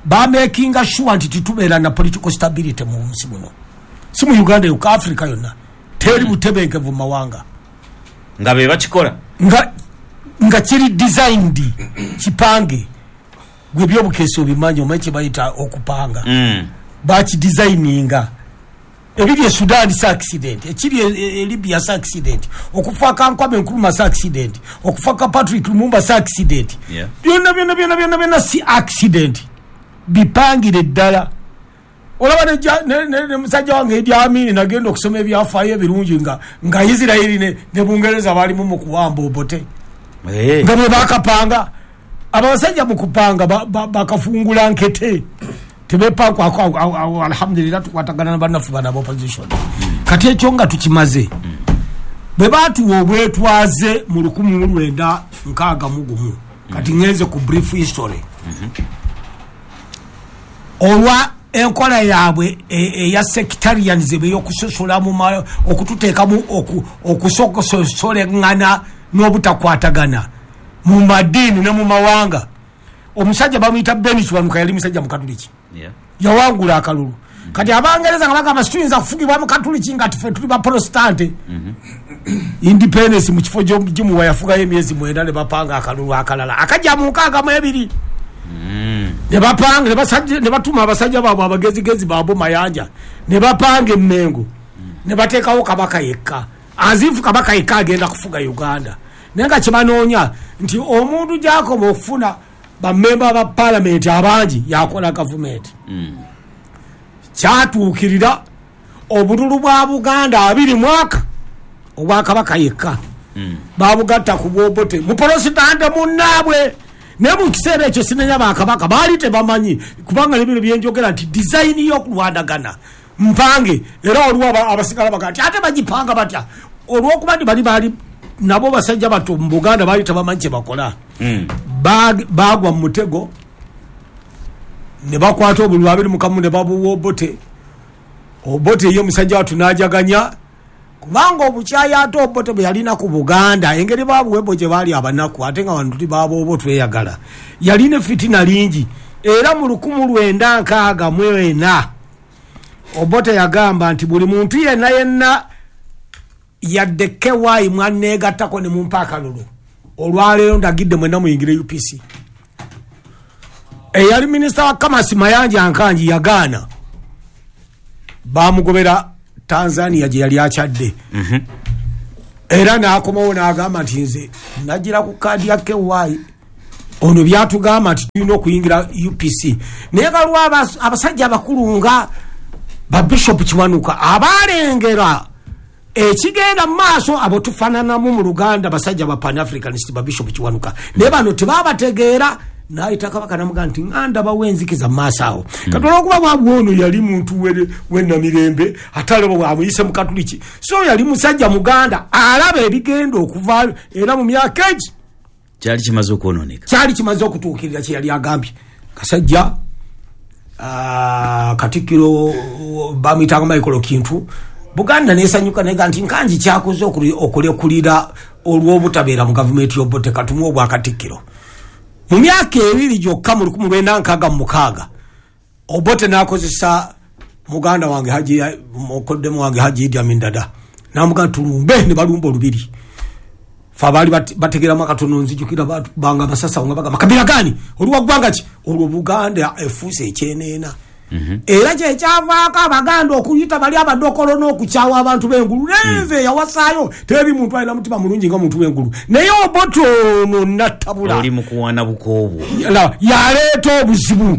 bamakinga sure nti titubeera na political stability mu nsi muno, si mu Uganda yokka, Africa yonna teri butebenkevu mu mawanga. Nga be bakikola nga, nga kiri designed kipange. Gwe byobukesi obimanyi, omanyi kye bayita okupanga. Mm. Bakidesigninga. Ebiri e Sudan si accident, ekiri e, e Libya si accident, okufa ka Kwame Nkrumah si accident, okufa ka Patrick Lumumba si accident. Yeah. Byonna byonna byonna byonna byonna si accident, bipangire ddala. Olaba ne, ne, ne musajja wange Idi Amin nagenda okusoma ebyafaayo ebirungi nga, nga Isiraeri ne, ne Bungereza balimu mu kuwamba Obote. Hey. Nga bwe bakapanga abasajja mu kupanga bakafungula ba, ba nkete tebepanko. Alhamdulillah, tukwatagana na bannaffe bano opposition. Kati ekyo nga tukimaze, bwe batuwa obwetwaze mu lukumi mu lwenda nkaaga mu gumu, kati ngenze ku brief history olwa enkola yaabwe eya sectarianism ey'okusosola mu okututeekamu okusosoleŋŋana n'obutakwatagana mu madiini ne mu mawanga. Omusajja bamuyita Ben Kiwanuka, yali musajja mukatuliki. Yawangula akalulu. Kati Abangereza nga bagamba situyinza kufugibwa mukatuliki nga ffe tuli baprotestante. Independence mu kifo gimuwa yafugayo emyezi mwenda ne bapanga akalulu akalala akajja mu nkaaga mu ebiri. Ne bapanga ne batuma abasajja baabwe abagezigezi baabo Mayanja ne bapanga emmengo ne bateekawo kabaka yekka, azifu kabaka yekka agenda kufuga Uganda. Naye nga kyebanoonya nti omuntu gy'akoma okufuna bammemba ba palamenti abangi yakola gavumenti. Kyatuukirira obululu bwa Buganda abiri mwaka obwakabaka yekka babugatta ku bw'Obote muprotestante munnaabwe. Naye mu kiseera ekyo sinenya bakabaka baali tebamanyi, kubanga nebino byenjogera nti design y'okulwanagana mpange. Era waliwo abasigala bagaa nti ate bagipanga batya, olw'okuba nti bali baali nabo basajja bato mu Buganda baali tebamanyi kye bakola. Bagwa mu mutego ne bakwata obululu abiri mu kamu ne babuwa Obote. Obote ye musajja watu n'ajaganya, kubanga obukyayi ate Obote bwe yalina ku Buganda, engeri babuwebo gye baali abanaku ate nga bantu baaboobo tweyagala, yalina effitina lingi. Era mu lukumu lwenda nkaaga mu ena Obote yagamba nti buli muntu yenna yenna yadde K Y mwanneegattako ne mumpa akalulu, olwaleero ndagidde mwenna muyingire U P C. Eyali minisita wa Kamasi Mayanja Nkangi yagaana, bamugobera Tanzania gye yali akyadde. Era n'akomawo n'agamba nti nze nagira ku kaadi ya K Y, ono byatugamba nti tulina okuyingira U P C. Naye galiwo abasajja abakulu nga ba Bishop Kiwanuka abalengera ekigenda mu maaso, abo tufaananamu mu Luganda, basajja ba Pan-Africanist ba Bishop Kiwanuka. Naye bano tebabategeera. N'ayita kabaka n'amugamba nti nga ndabawo enzikiza mu maaso awo. Kati olw'okuba bwabwe ono yali muntu w'ennamirembe ate alaba bwamuyise mukatuliki, so yali musajja Muganda alaba ebigenda okuvaayo. Era mu myaka egi kyali kimaze okwonooneka, kyali kimaze okutuukirira kye yali agambye. Kasajja Katikkiro bamuyitanga Michael Kintu, Buganda nesanyuka nega nti Nkangi kyakoze okulekulira olw'obutabeera mu gavumenti y'Obote, katumuwe obwakatikkiro. Mu myaka ebiri gyokka mu lukumi lwenda nkaaga mu mukaaga Obote n'akozesa muganda wange Haji mukoddemu wange Haji Idi Amin Dada, n'amugamba tulumbe, ne balumba olubiri. Fe abaali bategeeramu akatono nzijukira banga basasa nga bagamba kabira gani oluwa ggwanga ki, olwo Buganda efuuse ekyeneena. Era kyekyavaako Abaganda okuyita bali abadokolo n'okukyawa abantu b'engulu. Nenze yawasaayo teri muntu alina mutima mulungi nga muntu w'engulu, naye Obote ono nattabula oli mu kuwaana bukoobwo yaleeta obuzibu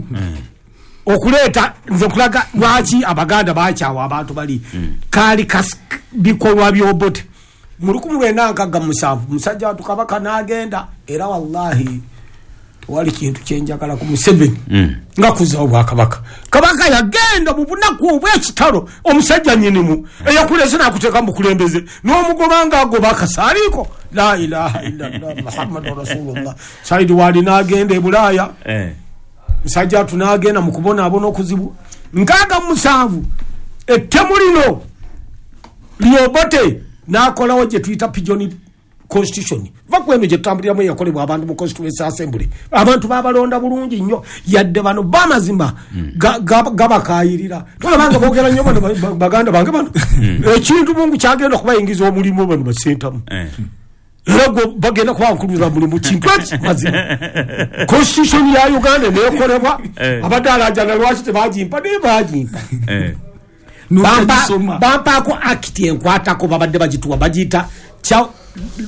okuleeta. Nze nkulaga lwaki Abaganda bakyawa abantu bali kaali bikolwa by'Obote. Mu lukumi lwenda nkaaga mu musanvu musajja watu kabaka n'agenda. Era wallahi tewali kintu kyenjagala ku Museveni nga kuzaawo bwakabaka. Kabaka yagenda mu bunaku obw'ekitalo, omusajja nnyinimu eyakulese n'akuteeka mu bukulembeze n'omugoba ng'agoba akasaaliiko. La ilaha illallah Muhammadu rasulullah. Saidi wali n'agenda e Bulaaya, musajja watu n'agenda mu kubonaabona okuzibu. Nkaaga mu musanvu ettemu lino Lyobote n'akolawo gye tuyita pigeon constitution. Va ku eno gye tutambuliramu eyakolebwa abantu mu constituency assembly, abantu babalonda bulungi nnyo, yadde bano bamazima gabakaayirira. Tolabanga boogera nnyo bano baganda bange bano, ekintu Mungu kyagenda okubayingiza omulimu bano basentamu, era gwe bagenda kubankuluza mulimu kintu eki mazima. Constitution ya Uganda neekolebwa, abadde alajana lwaki tebagimpa, naye bagimpa. Bampaako act enkwatako babadde bagituwa, bagiyita kya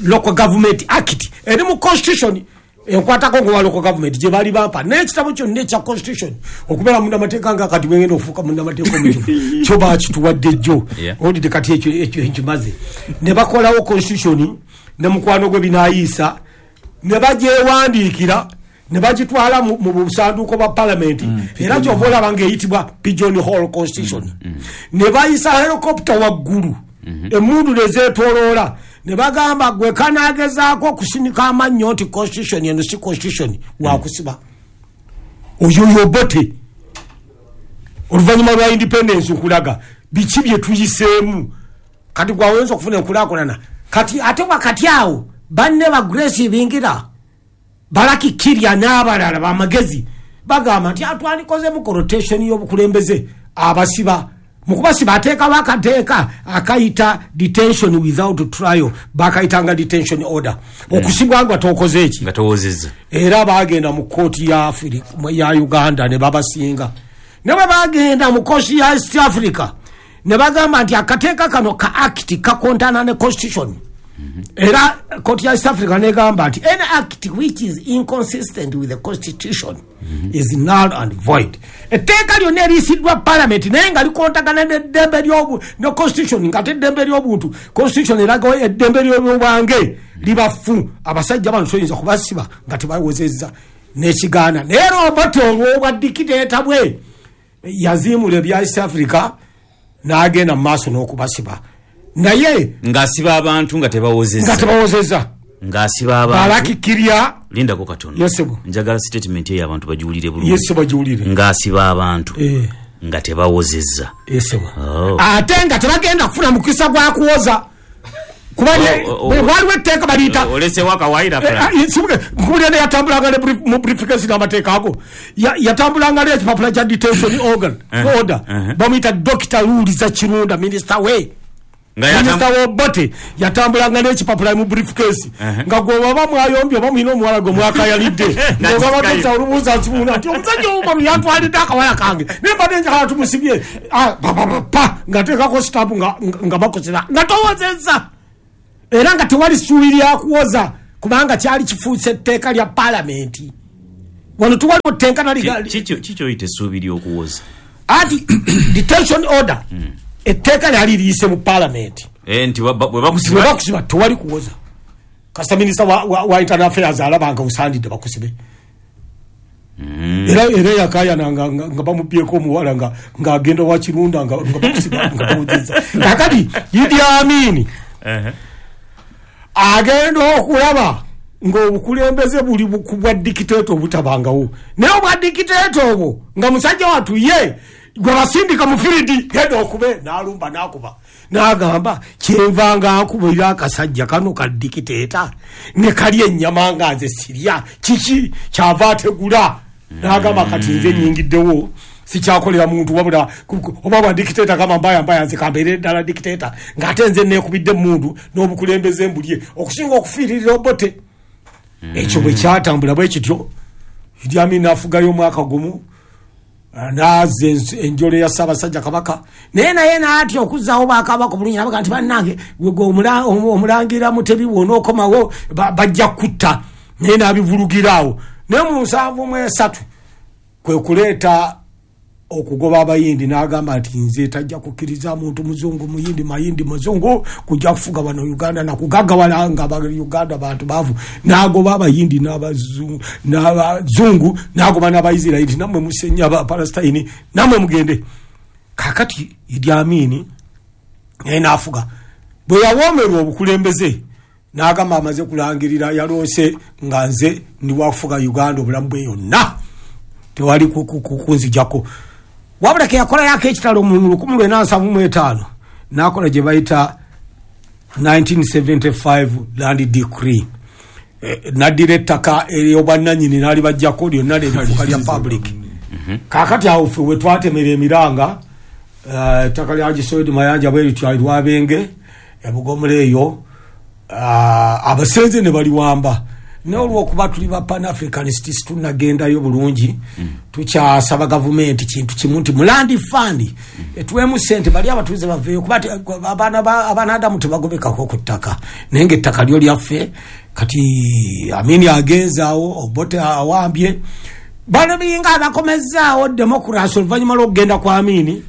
local government act, eri mu constitution enkwatako ngowa local government gye baali bampa. Naye ekitabo kyonna ekya constitution okubeera munnamateeka nga kati bwengenda okufuuka munnamateeka omukifu kyo bakituwadde jjo, olidde kati ekyo ekyo nkimaze. Ne bakolawo constitution ne mukwano gwe binaayiisa, ne bagyewandiikira, ne bagitwala mu busanduuko bwa palamenti, era kyova olaba ng'eyitibwa Pigeon Hall Constitution. Ne bayisa helicopter waggulu, emmundu ne zeetooloola, ne bagamba gwe kanaagezaako okusinika amannyo nti constitution eno si constitution, wakusiba. Oyo Yobote oluvannyuma lwa independence okulaga biki bye tuyiseemu. Kati gwaweza okufuna enkulaakulana. Kati ate wakati awo banne ba Grace Bingira, Balaki Kirya n'abalala bamagezi bagamba nti atwalikozemu rotation y'obukulembeze, abasiba mu kubasiba ateekawo akateeka akayita detention without trial, bakayitanga detention order, okusibwa nga tokoze eki, nga towozezza. Era bagenda mu kooti ya Africa ya Uganda ne babasinga. Ne bwe bagenda mu kooti ya East Africa ne bagamba nti akateeka kano ka act kakontana ne constitution. Era kooti ya East Africa negamba nti any act which is inconsistent with the constitution mm -hmm. is null and void. Etteeka lyonna eriyisiddwa parliament naye nga likontagana n'eddembe ly'obu ne constitution, nga ate eddembe ly'obuntu constitution eraga eddembe ly'obwange libafu, abasajja bano toyinza kubasiba nga tebawozezza n'ekigaana. Naye Obote olw'obwa dictator bwe yaziimula ebya East Africa n'agenda mu maaso n'okubasiba, naye ng'asiba abantu nga tebawozezza, nga tebawozezza, ng'asiba abantu. Balaki Kirya, lindako katono, njagala statement eyo abantu bagiwulire bulungi. Yes, bagiwulire. Ng'asiba abantu eh. nga tebawozezza. Yes, oh. Ate nga tebagenda kufuna mukisa gwa kuwoza, kuba waliwo etteeka baliyita olesewo akawayira nkubulira ne yatambulanga ne mu briefcase n'amateeka ago, yatambulanga n'ekipapula kya detention organ order, bamuyita Dokita Luliza Kirunda, minisita we minisita w'Obote, yatambulanga n'ekipapula mu briefcase, nga gwe baba mwayombye oba mulina omuwala gwe mwakayalidde, ng'ogamba Dokita olubuuza nkibuuna nti omusajja omumalu yantwalidde akawaya kange, naye mbadde njagala tumusibye pa ng'ateekako sitapu nga bakozesa nga towozezza, era nga tewali ssuubi lya kuwoza kubanga kyali kifuuse etteeka lya palamenti. Wano tuwaliwo tteeka nali kikyoyita essuubi ly'okuwoza anti detention order, etteeka lyali liyise mu palamenti nti bwe bakusiba tewali kuwoza. Kasita minisita wa internal affairs alaba nga osandidde bakusibe. Era era yakayana nga nga bamubyeko omuwala nga ng'agenda wa Kirunda nga bakusiba nga tawozezza. Kakati Idi Amin agenda okulaba ng'obukulembeze buli bwa dictator obutabangawo, naye obwa dictator obwo nga musajja wattu ye gwe basindika mu firidi genda okube n'alumba n'akuba n'agamba kyenva nga nkubira akasajja kano ka dictator ne kali ennyama nga nze sirya kiki kyava ategula n'agamba kati nze nnyingiddewo sikyakolera muntu wabula oba bwa dictator kama mbaya mbaya nze kambeere ddala dictator ng'ate nze neekubidde muntu n'obukulembeze mbulye okusinga okufiiririra Obote. Ekyo bwe kyatambula bwe kityo, Idi Amin n'afugayo omwaka gumu n'azza enjole ya Ssaabasajja Kabaka, naye naye n'atya okuzzaawo bakabaka obulungi n'abaga nti bannange gwe omulangira Mutebi bw'onookomawo bajja kutta, naye n'abivulugira awo. Naye mu nsanvu mu esatu kwe kuleeta okugoba abayindi, n'agamba nti nze tajja kukkiriza muntu muzungu muyindi mayindi muzungu kujja kufuga wano Uganda nakugaggawala nga Uganda bantu baavu. N'agoba abayindi n'abazungu n'agoba n'abaisirairi, nammwe musenya abapalestine nammwe mugende. Kaakati Idi Amin naye n'afuga. Bwe yawoomerwa obukulembeze n'agamba amaze kulangirira yaloose nga nze ndi wakufuga Uganda obulamu bwe yonna, tewali kunzijjako. Wabula ke yakola yako ekitalo mu lukumi lwenda nsanvu mu etaano n'akola gye bayita nineteen seventy-five land decree. Eh, n'addira ettaka ery'obwannannyini n'alibaggyako lyonna lerifuuka lya public. Kaakati awo ffe we twatemera emiranga, eh, ettaka lya Gisoedi Mayanja bwe lityo Lwabenge ebugomula eyo, ah, abasenze ne baliwamba. Naye olw'okuba tuli ba Pan-Africanists tunnagendayo bulungi, tukyasaba gavumenti kintu kimu nti mu land fund etuweemu ssente bali abatuuze baveeyo, kuba ti abaana ba- abaana tebagobekako ku ttaka, naye ng'ettaka lyo lyaffe. Kati Amini agenzaawo, Obote awambye, bano biringa abakomezzaawo democracy oluvannyuma lw'okugenda kwa Amini.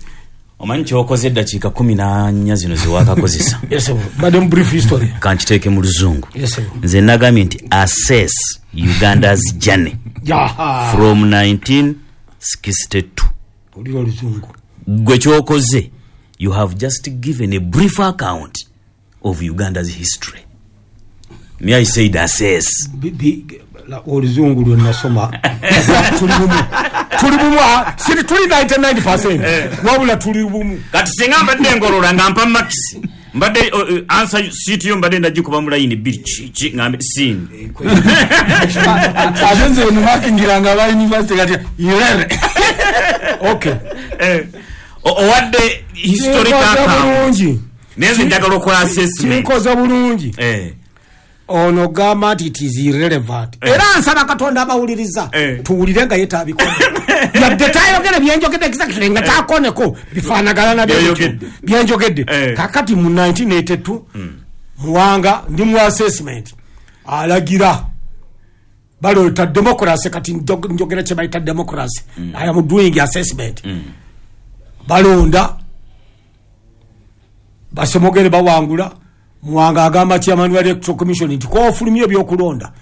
Omanyi kyokoze eddakiika kumi na nnya zino zewakakozesa? Yes, sir. Badde mu brief history. Kankiteeke mu luzungu. Yes, sir. Nze nagambye nti assess Uganda's journey Yaha. from nineteen sixty-two. Olira oluzungu. Gwe kyokoze, you have just given a brief account of Uganda's history. Me, I said assess. Bi- bi- la- oluzungu lwe nasoma tuli bumu, tuli bumu, ah, siri tuli ninety-nine percent, wabula tuli bumu. Kati singa mbadde ngolola nga mpa marks, mbadde uh, uh, answer sheet yo mbadde ndagikuba mu line bbiri, ki ki ngambe sin. Ate nze onimakingiranga aba university kati irere. Okay. Eh, o- owadde historical Kinkoze account. bulungi. Naye nze njagala okola assessment. Kinkoze bulungi. Eh. Ono gamba nti it is irrelevant. Eh. Era nsaba Katonda abawuliriza Eh. tuwulire nga ye taabikola, yadde tayogere byenjogedde exactly, nga takoneko bifaanagana na bye Byenjogedde. byenjogedde. Eh. Kakati mu nineteen eighty-two Muwanga ndi mu assessment alagira baleeta democracy. Kati njog- njogera kye bayita democracy. I am doing assessment. Balonda Basemogere, bawangula. Muwanga agamba chairman wa electoral commission nti kofulumya ebyokulonda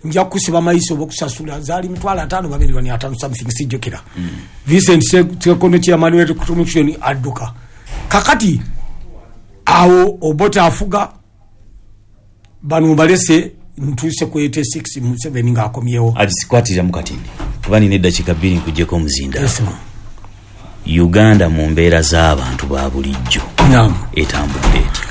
nja kusiba mayiso oba okusasula zaali mitwalo ataano babiri bani ataano something, sijjukira. Vincent Sekondo chairman wa electoral commission adduka. Kakati awo Obote afuga, bano balese ntuuse ku eighty-six Museveni ng'akomyewo. Agisikwatirira mu katindi kuba nina eddakiika bbiri nkuggyeko omuzinda. Yes, ma'am. Uganda mu mbeera z'abantu ba bulijjo Naam. etambudde etya?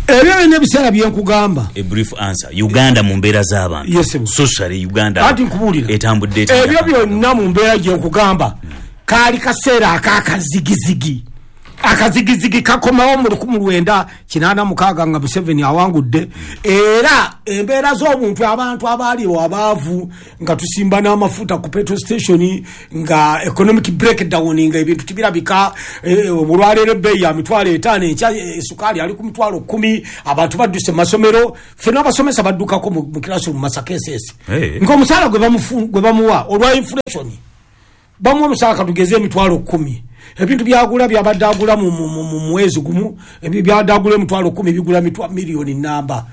Ebyo byonna ebiseera byenkugamba. A brief answer. Uganda mu mbeera z'abantu, Yes, ma'am. socially Uganda Anti nkubuulira, etambudde etya? Ebyo byonna mu mbeera gyenkugamba kaali kaseera ak'akazigizigi. Akazigizigi kakomawo mu lukumi lwenda kinaana mukaaga nga Museveni awangudde. Era embeera z'obuntu, abantu abaaliwo abaavu, nga tusimba n'amafuta ku petrol station, nga economic breakdown, nga ebintu tibirabika. eh, olwaleero ebbeeyi ya mitwalo etaano, enkya eh, sukaali ali ku mitwalo kkumi. Abantu badduse mu masomero, ffenna abasomesa baddukako mu mu classroom Masaka S S. Hey. Ng'omusaala gwe bamufu- gwe bamuwa olwa inflation, bamuwa omusaala katugeze emitwalo kkumi, ebintu byagula byabadde agula mu- mu mu- mu mwezi gumu, ebyo byabadde agula emitwalo kkumi bigula mitwa miliyoni namba.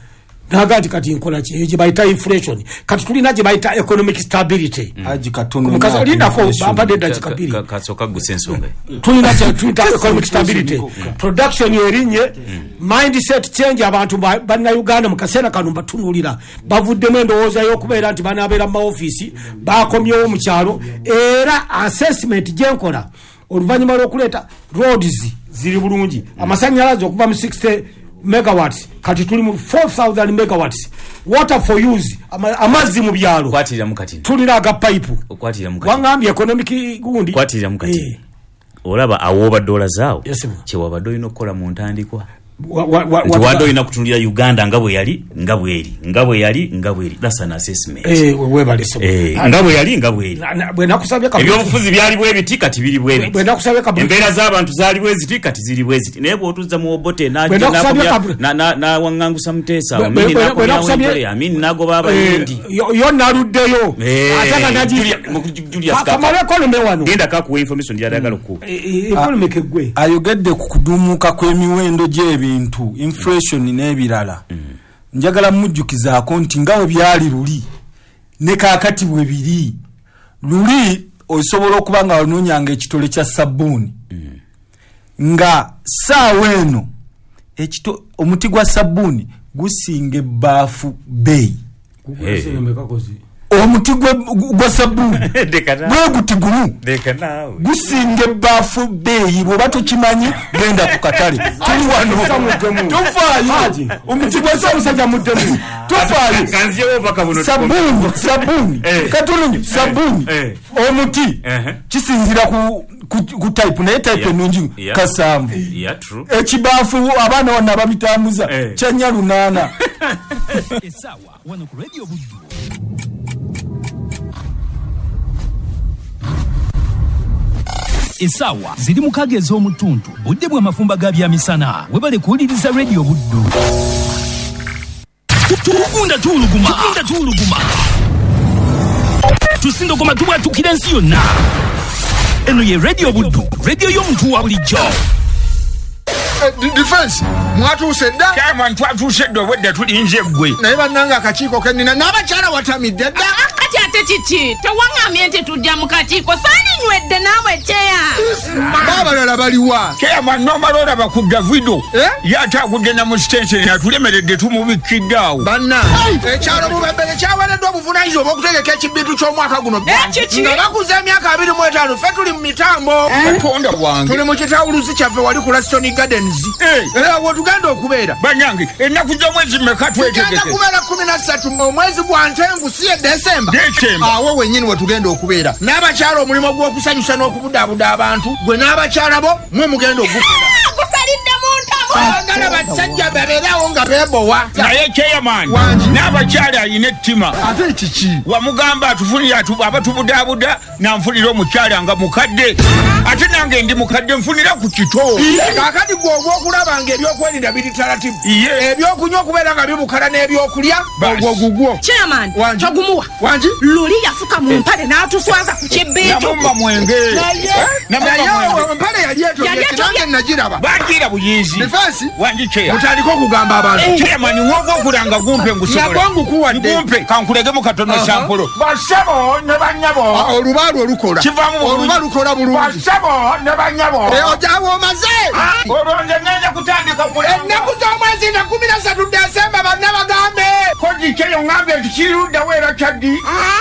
Naga nti kati nkola ki? Eyo gye bayita inflation. Kati tulina gye bayita economic stability. Haji katono. Mukazi, nnyo lindako, inflation. bampadde eddakiika bbiri. Ka- kasooka gusa ensonga. Tulina kye tuyita economic stability, production erinye, mindset change. Abantu ba- bannayuganda mu kaseera kano mbatunuulira bavuddemu endowooza y'okubeera nti banaabeera mu maofiisi, bakomyewo mu kyalo. Era assessment gyenkola oluvannyuma lw'okuleeta roads ziri bulungi, amasannyalaze okuva mu sixty megawatts kati tuli mu four thousand megawatts, water for use, ama- amazzi mu byalo Okwatirira mu katini. tulina aga pipe. Okwatirira mu katini. Waŋŋambye economic gundi. Okwatirira mu katini. Eh. Olaba awo obadde olazaawo Yes, ma'am. kyewabadde olina okukola mu ntandikwa, Wa- wa- wa- nti wa- wadde olina kutunulira Uganda nga bwe yali, nga bweri, nga bwe yali, nga bweri. That's an assessment. Eh, webale ssebo. Eh, nga bwe yali, nga bweri. Na- na- bwe nakusabye ka- Ebyobufuzi byali bwe biti, kati biri bwe biti. Bwe nakusabye ka- Embeera z'abantu zaali bwe ziti, kati ziri bwe ziti. Naye bw'otuzza mu Obote Bwe nakusabye ka- nawaŋŋangusa Muteesa, Bwe- Amini bwe- bwe n'akomyawo nakusabye- Entole, Amini n'agoba Abayindi. Eh, yo yo naluddeyo. Eh, Ate nga nagi- Julia- mu- Julius Ka- kamale economy wano. Genda kakuwa information gy'ayagala okuwa. Eh, eh, economy keggwe. Ayogedde ku kudumuka kw'emiwendo gy'ebintu, inflation n'ebirala. Njagala mujjukizaako nti nga bwe byali luli ne kaakati bwe biri. Luli osobola okuba nga wanoonyanga ekitole kya sabbuuni, nga saawa eno ekito omuti gwa sabbuuni gusinga ebbaafu bbeeyi. Eh. Omuti gwa sabbuuni gwe guti gumu gusinga ebbaafu bbeeyi, bw'oba tokimanyi genda ku katale. Tuli wano tofaayo, omuti gwa musajja muddemu tofaayo. Sabbuuni sabbuuni katono sabbuuni omuti kisinzira ku ku type, naye type ennungi kasanvu. Ekibaafu abaana wano ababitambuza kyanya lunaana. Essaawa wano ku Radio Buddu. Essaawa ziri mukaaga ez'omutuntu, budde bw'amafumba ga byamisana. Webale kuwuliriza Radio Buddu. Tugunda tuwuluguma, tugunda tuwuluguma, tusindogoma tubwatukira ensi yonna. Eno ye Radio Buddu, radio y'omuntu wa bulijjo. Defense mwatuuse dda. Chairman, twatuuse dda, obwedda tulinze ggwe. Naye bannange akakiiko kennina n'abakyala watamidde dda. Kati ate kiki? Tewaŋŋambye nti tujja mu kakiiko, saalinywedde naawe kyeya. Baabalala baliwa? Chairman, n'omala olaba ku Davido ye ate agudde na mu sitenseni atulemeredde tumubikkidde awo. Bannange ekyalo Bubembere kyaweereddwa obuvunaanyizibwa obw'okutegeka ekibintu ky'omwaka guno nga bakuza emyaka abiri mu etaano. Ffe tuli mu mitambo. Katonda wange, tuli mu kitawuluzi kyaffe wali ku Laston Gardens. Era wetugenda okubeera bannange ennaku z'omwezi mmeka twetegeke? Tugenda kubeera kkumi na ssatu omwezi gwa Ntenvu, si ye Desemba. Awo wennyini wetugenda okubeera n'abakyala omulimu gw'okusanyusa n'okubudaabuda abantu, gwe n'abakyala bo mwe mugenda ogukola. Gusalidde mu ntamu. Baagala basajja babeerawo nga beebowa. Naye chairman, n'abakyala alina ettima. Ate kiki? Wamugamba atufunire abatubudaabuda, nanfunira omukyala nga mukadde, ate nange ndi mukadde nfunira ku kito. Kaakati gwe ogw'okulaba nga ebyokwerinda biri taratibu, ebyokunywa okubeera nga bibukala n'ebyokulya ogwo gugwo. Chairman, togumuwa. Wangi? Luli yafuka mu mpale n'atuswaza ku kibintu. Namumma mwenge. Naye empale yali etobye, nange nagiraba. Bagira buyizi. Defense? Wangi chair. Mutandike okugamba abantu. Chairman, w'ogwokulanga gumpe ngusobola. Nagwo ngukuwadde. Gumpe, kankulegemu katono sampolo. Bassebo ne bannyabo. Olubaalu olukola. Kivaamu bulungi. Oluba lukola bulungi. Bassebo ne bannyabo. Ojawo omaze. Olwo nze ngenda kutandika kulanga. Ennaku z'omwezi nga kkumi na ssatu Desemba banna bagambe. Koji kyeyo ngambye nti kiruddawo era kyaddi.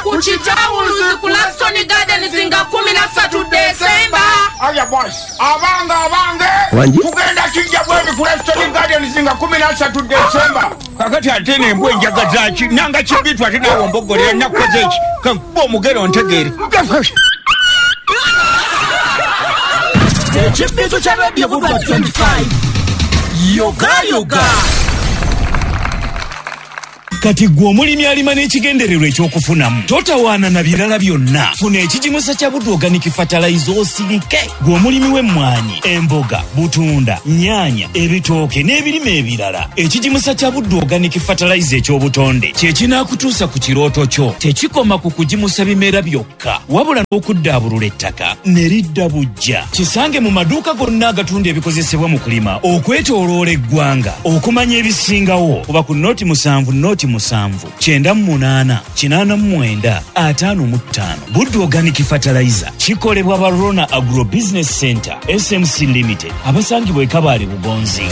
Ku kitawuluzi ku Laston Gardens nga kkumi na ssatu Desemba. Aya boss, abange abange. Tugenda kijja bwebi ku Laston Gardens nga kkumi na ssatu Desemba. Kakati ate n'embwa enjaga zaaki nanga kibitu ate naawe omboggolera nnakukoze eki kankuba omugero ntegeere. Ekibintu kya Radio Buddu twenty-five. Yoga yoga. Kati gwe omulimi alima n'ekigendererwa ekyokufunamu, totawaana na birala byonna. Funa ekigimusa kya Buddu Organic Fertilizer osirike. Gwe omulimi w'emmwanyi, emboga, butunda, nnyaanya, ebitooke n'ebirime ebirala, ekigimusa kya Buddu Organic Fertilizer eky'obutonde kye kinaakutuusa ku kirooto kyo. Tekikoma ku kugimusa bimera byokka, wabula n'okuddaabulula ettaka ne lidda buggya. Kisange mu maduuka gonna agatunda ebikozesebwa mu kulima okwetooloola eggwanga. Okumanya ebisingawo kuba ku noti musanvu noti musanvu kyenda mu munaana kinaana mu mwenda ataano mu ttaano. Buddu Organic Fertilizer kikolebwa ba Rona Agro Business Center S M C Limited, abasangibwa e Kabale Bugonzi.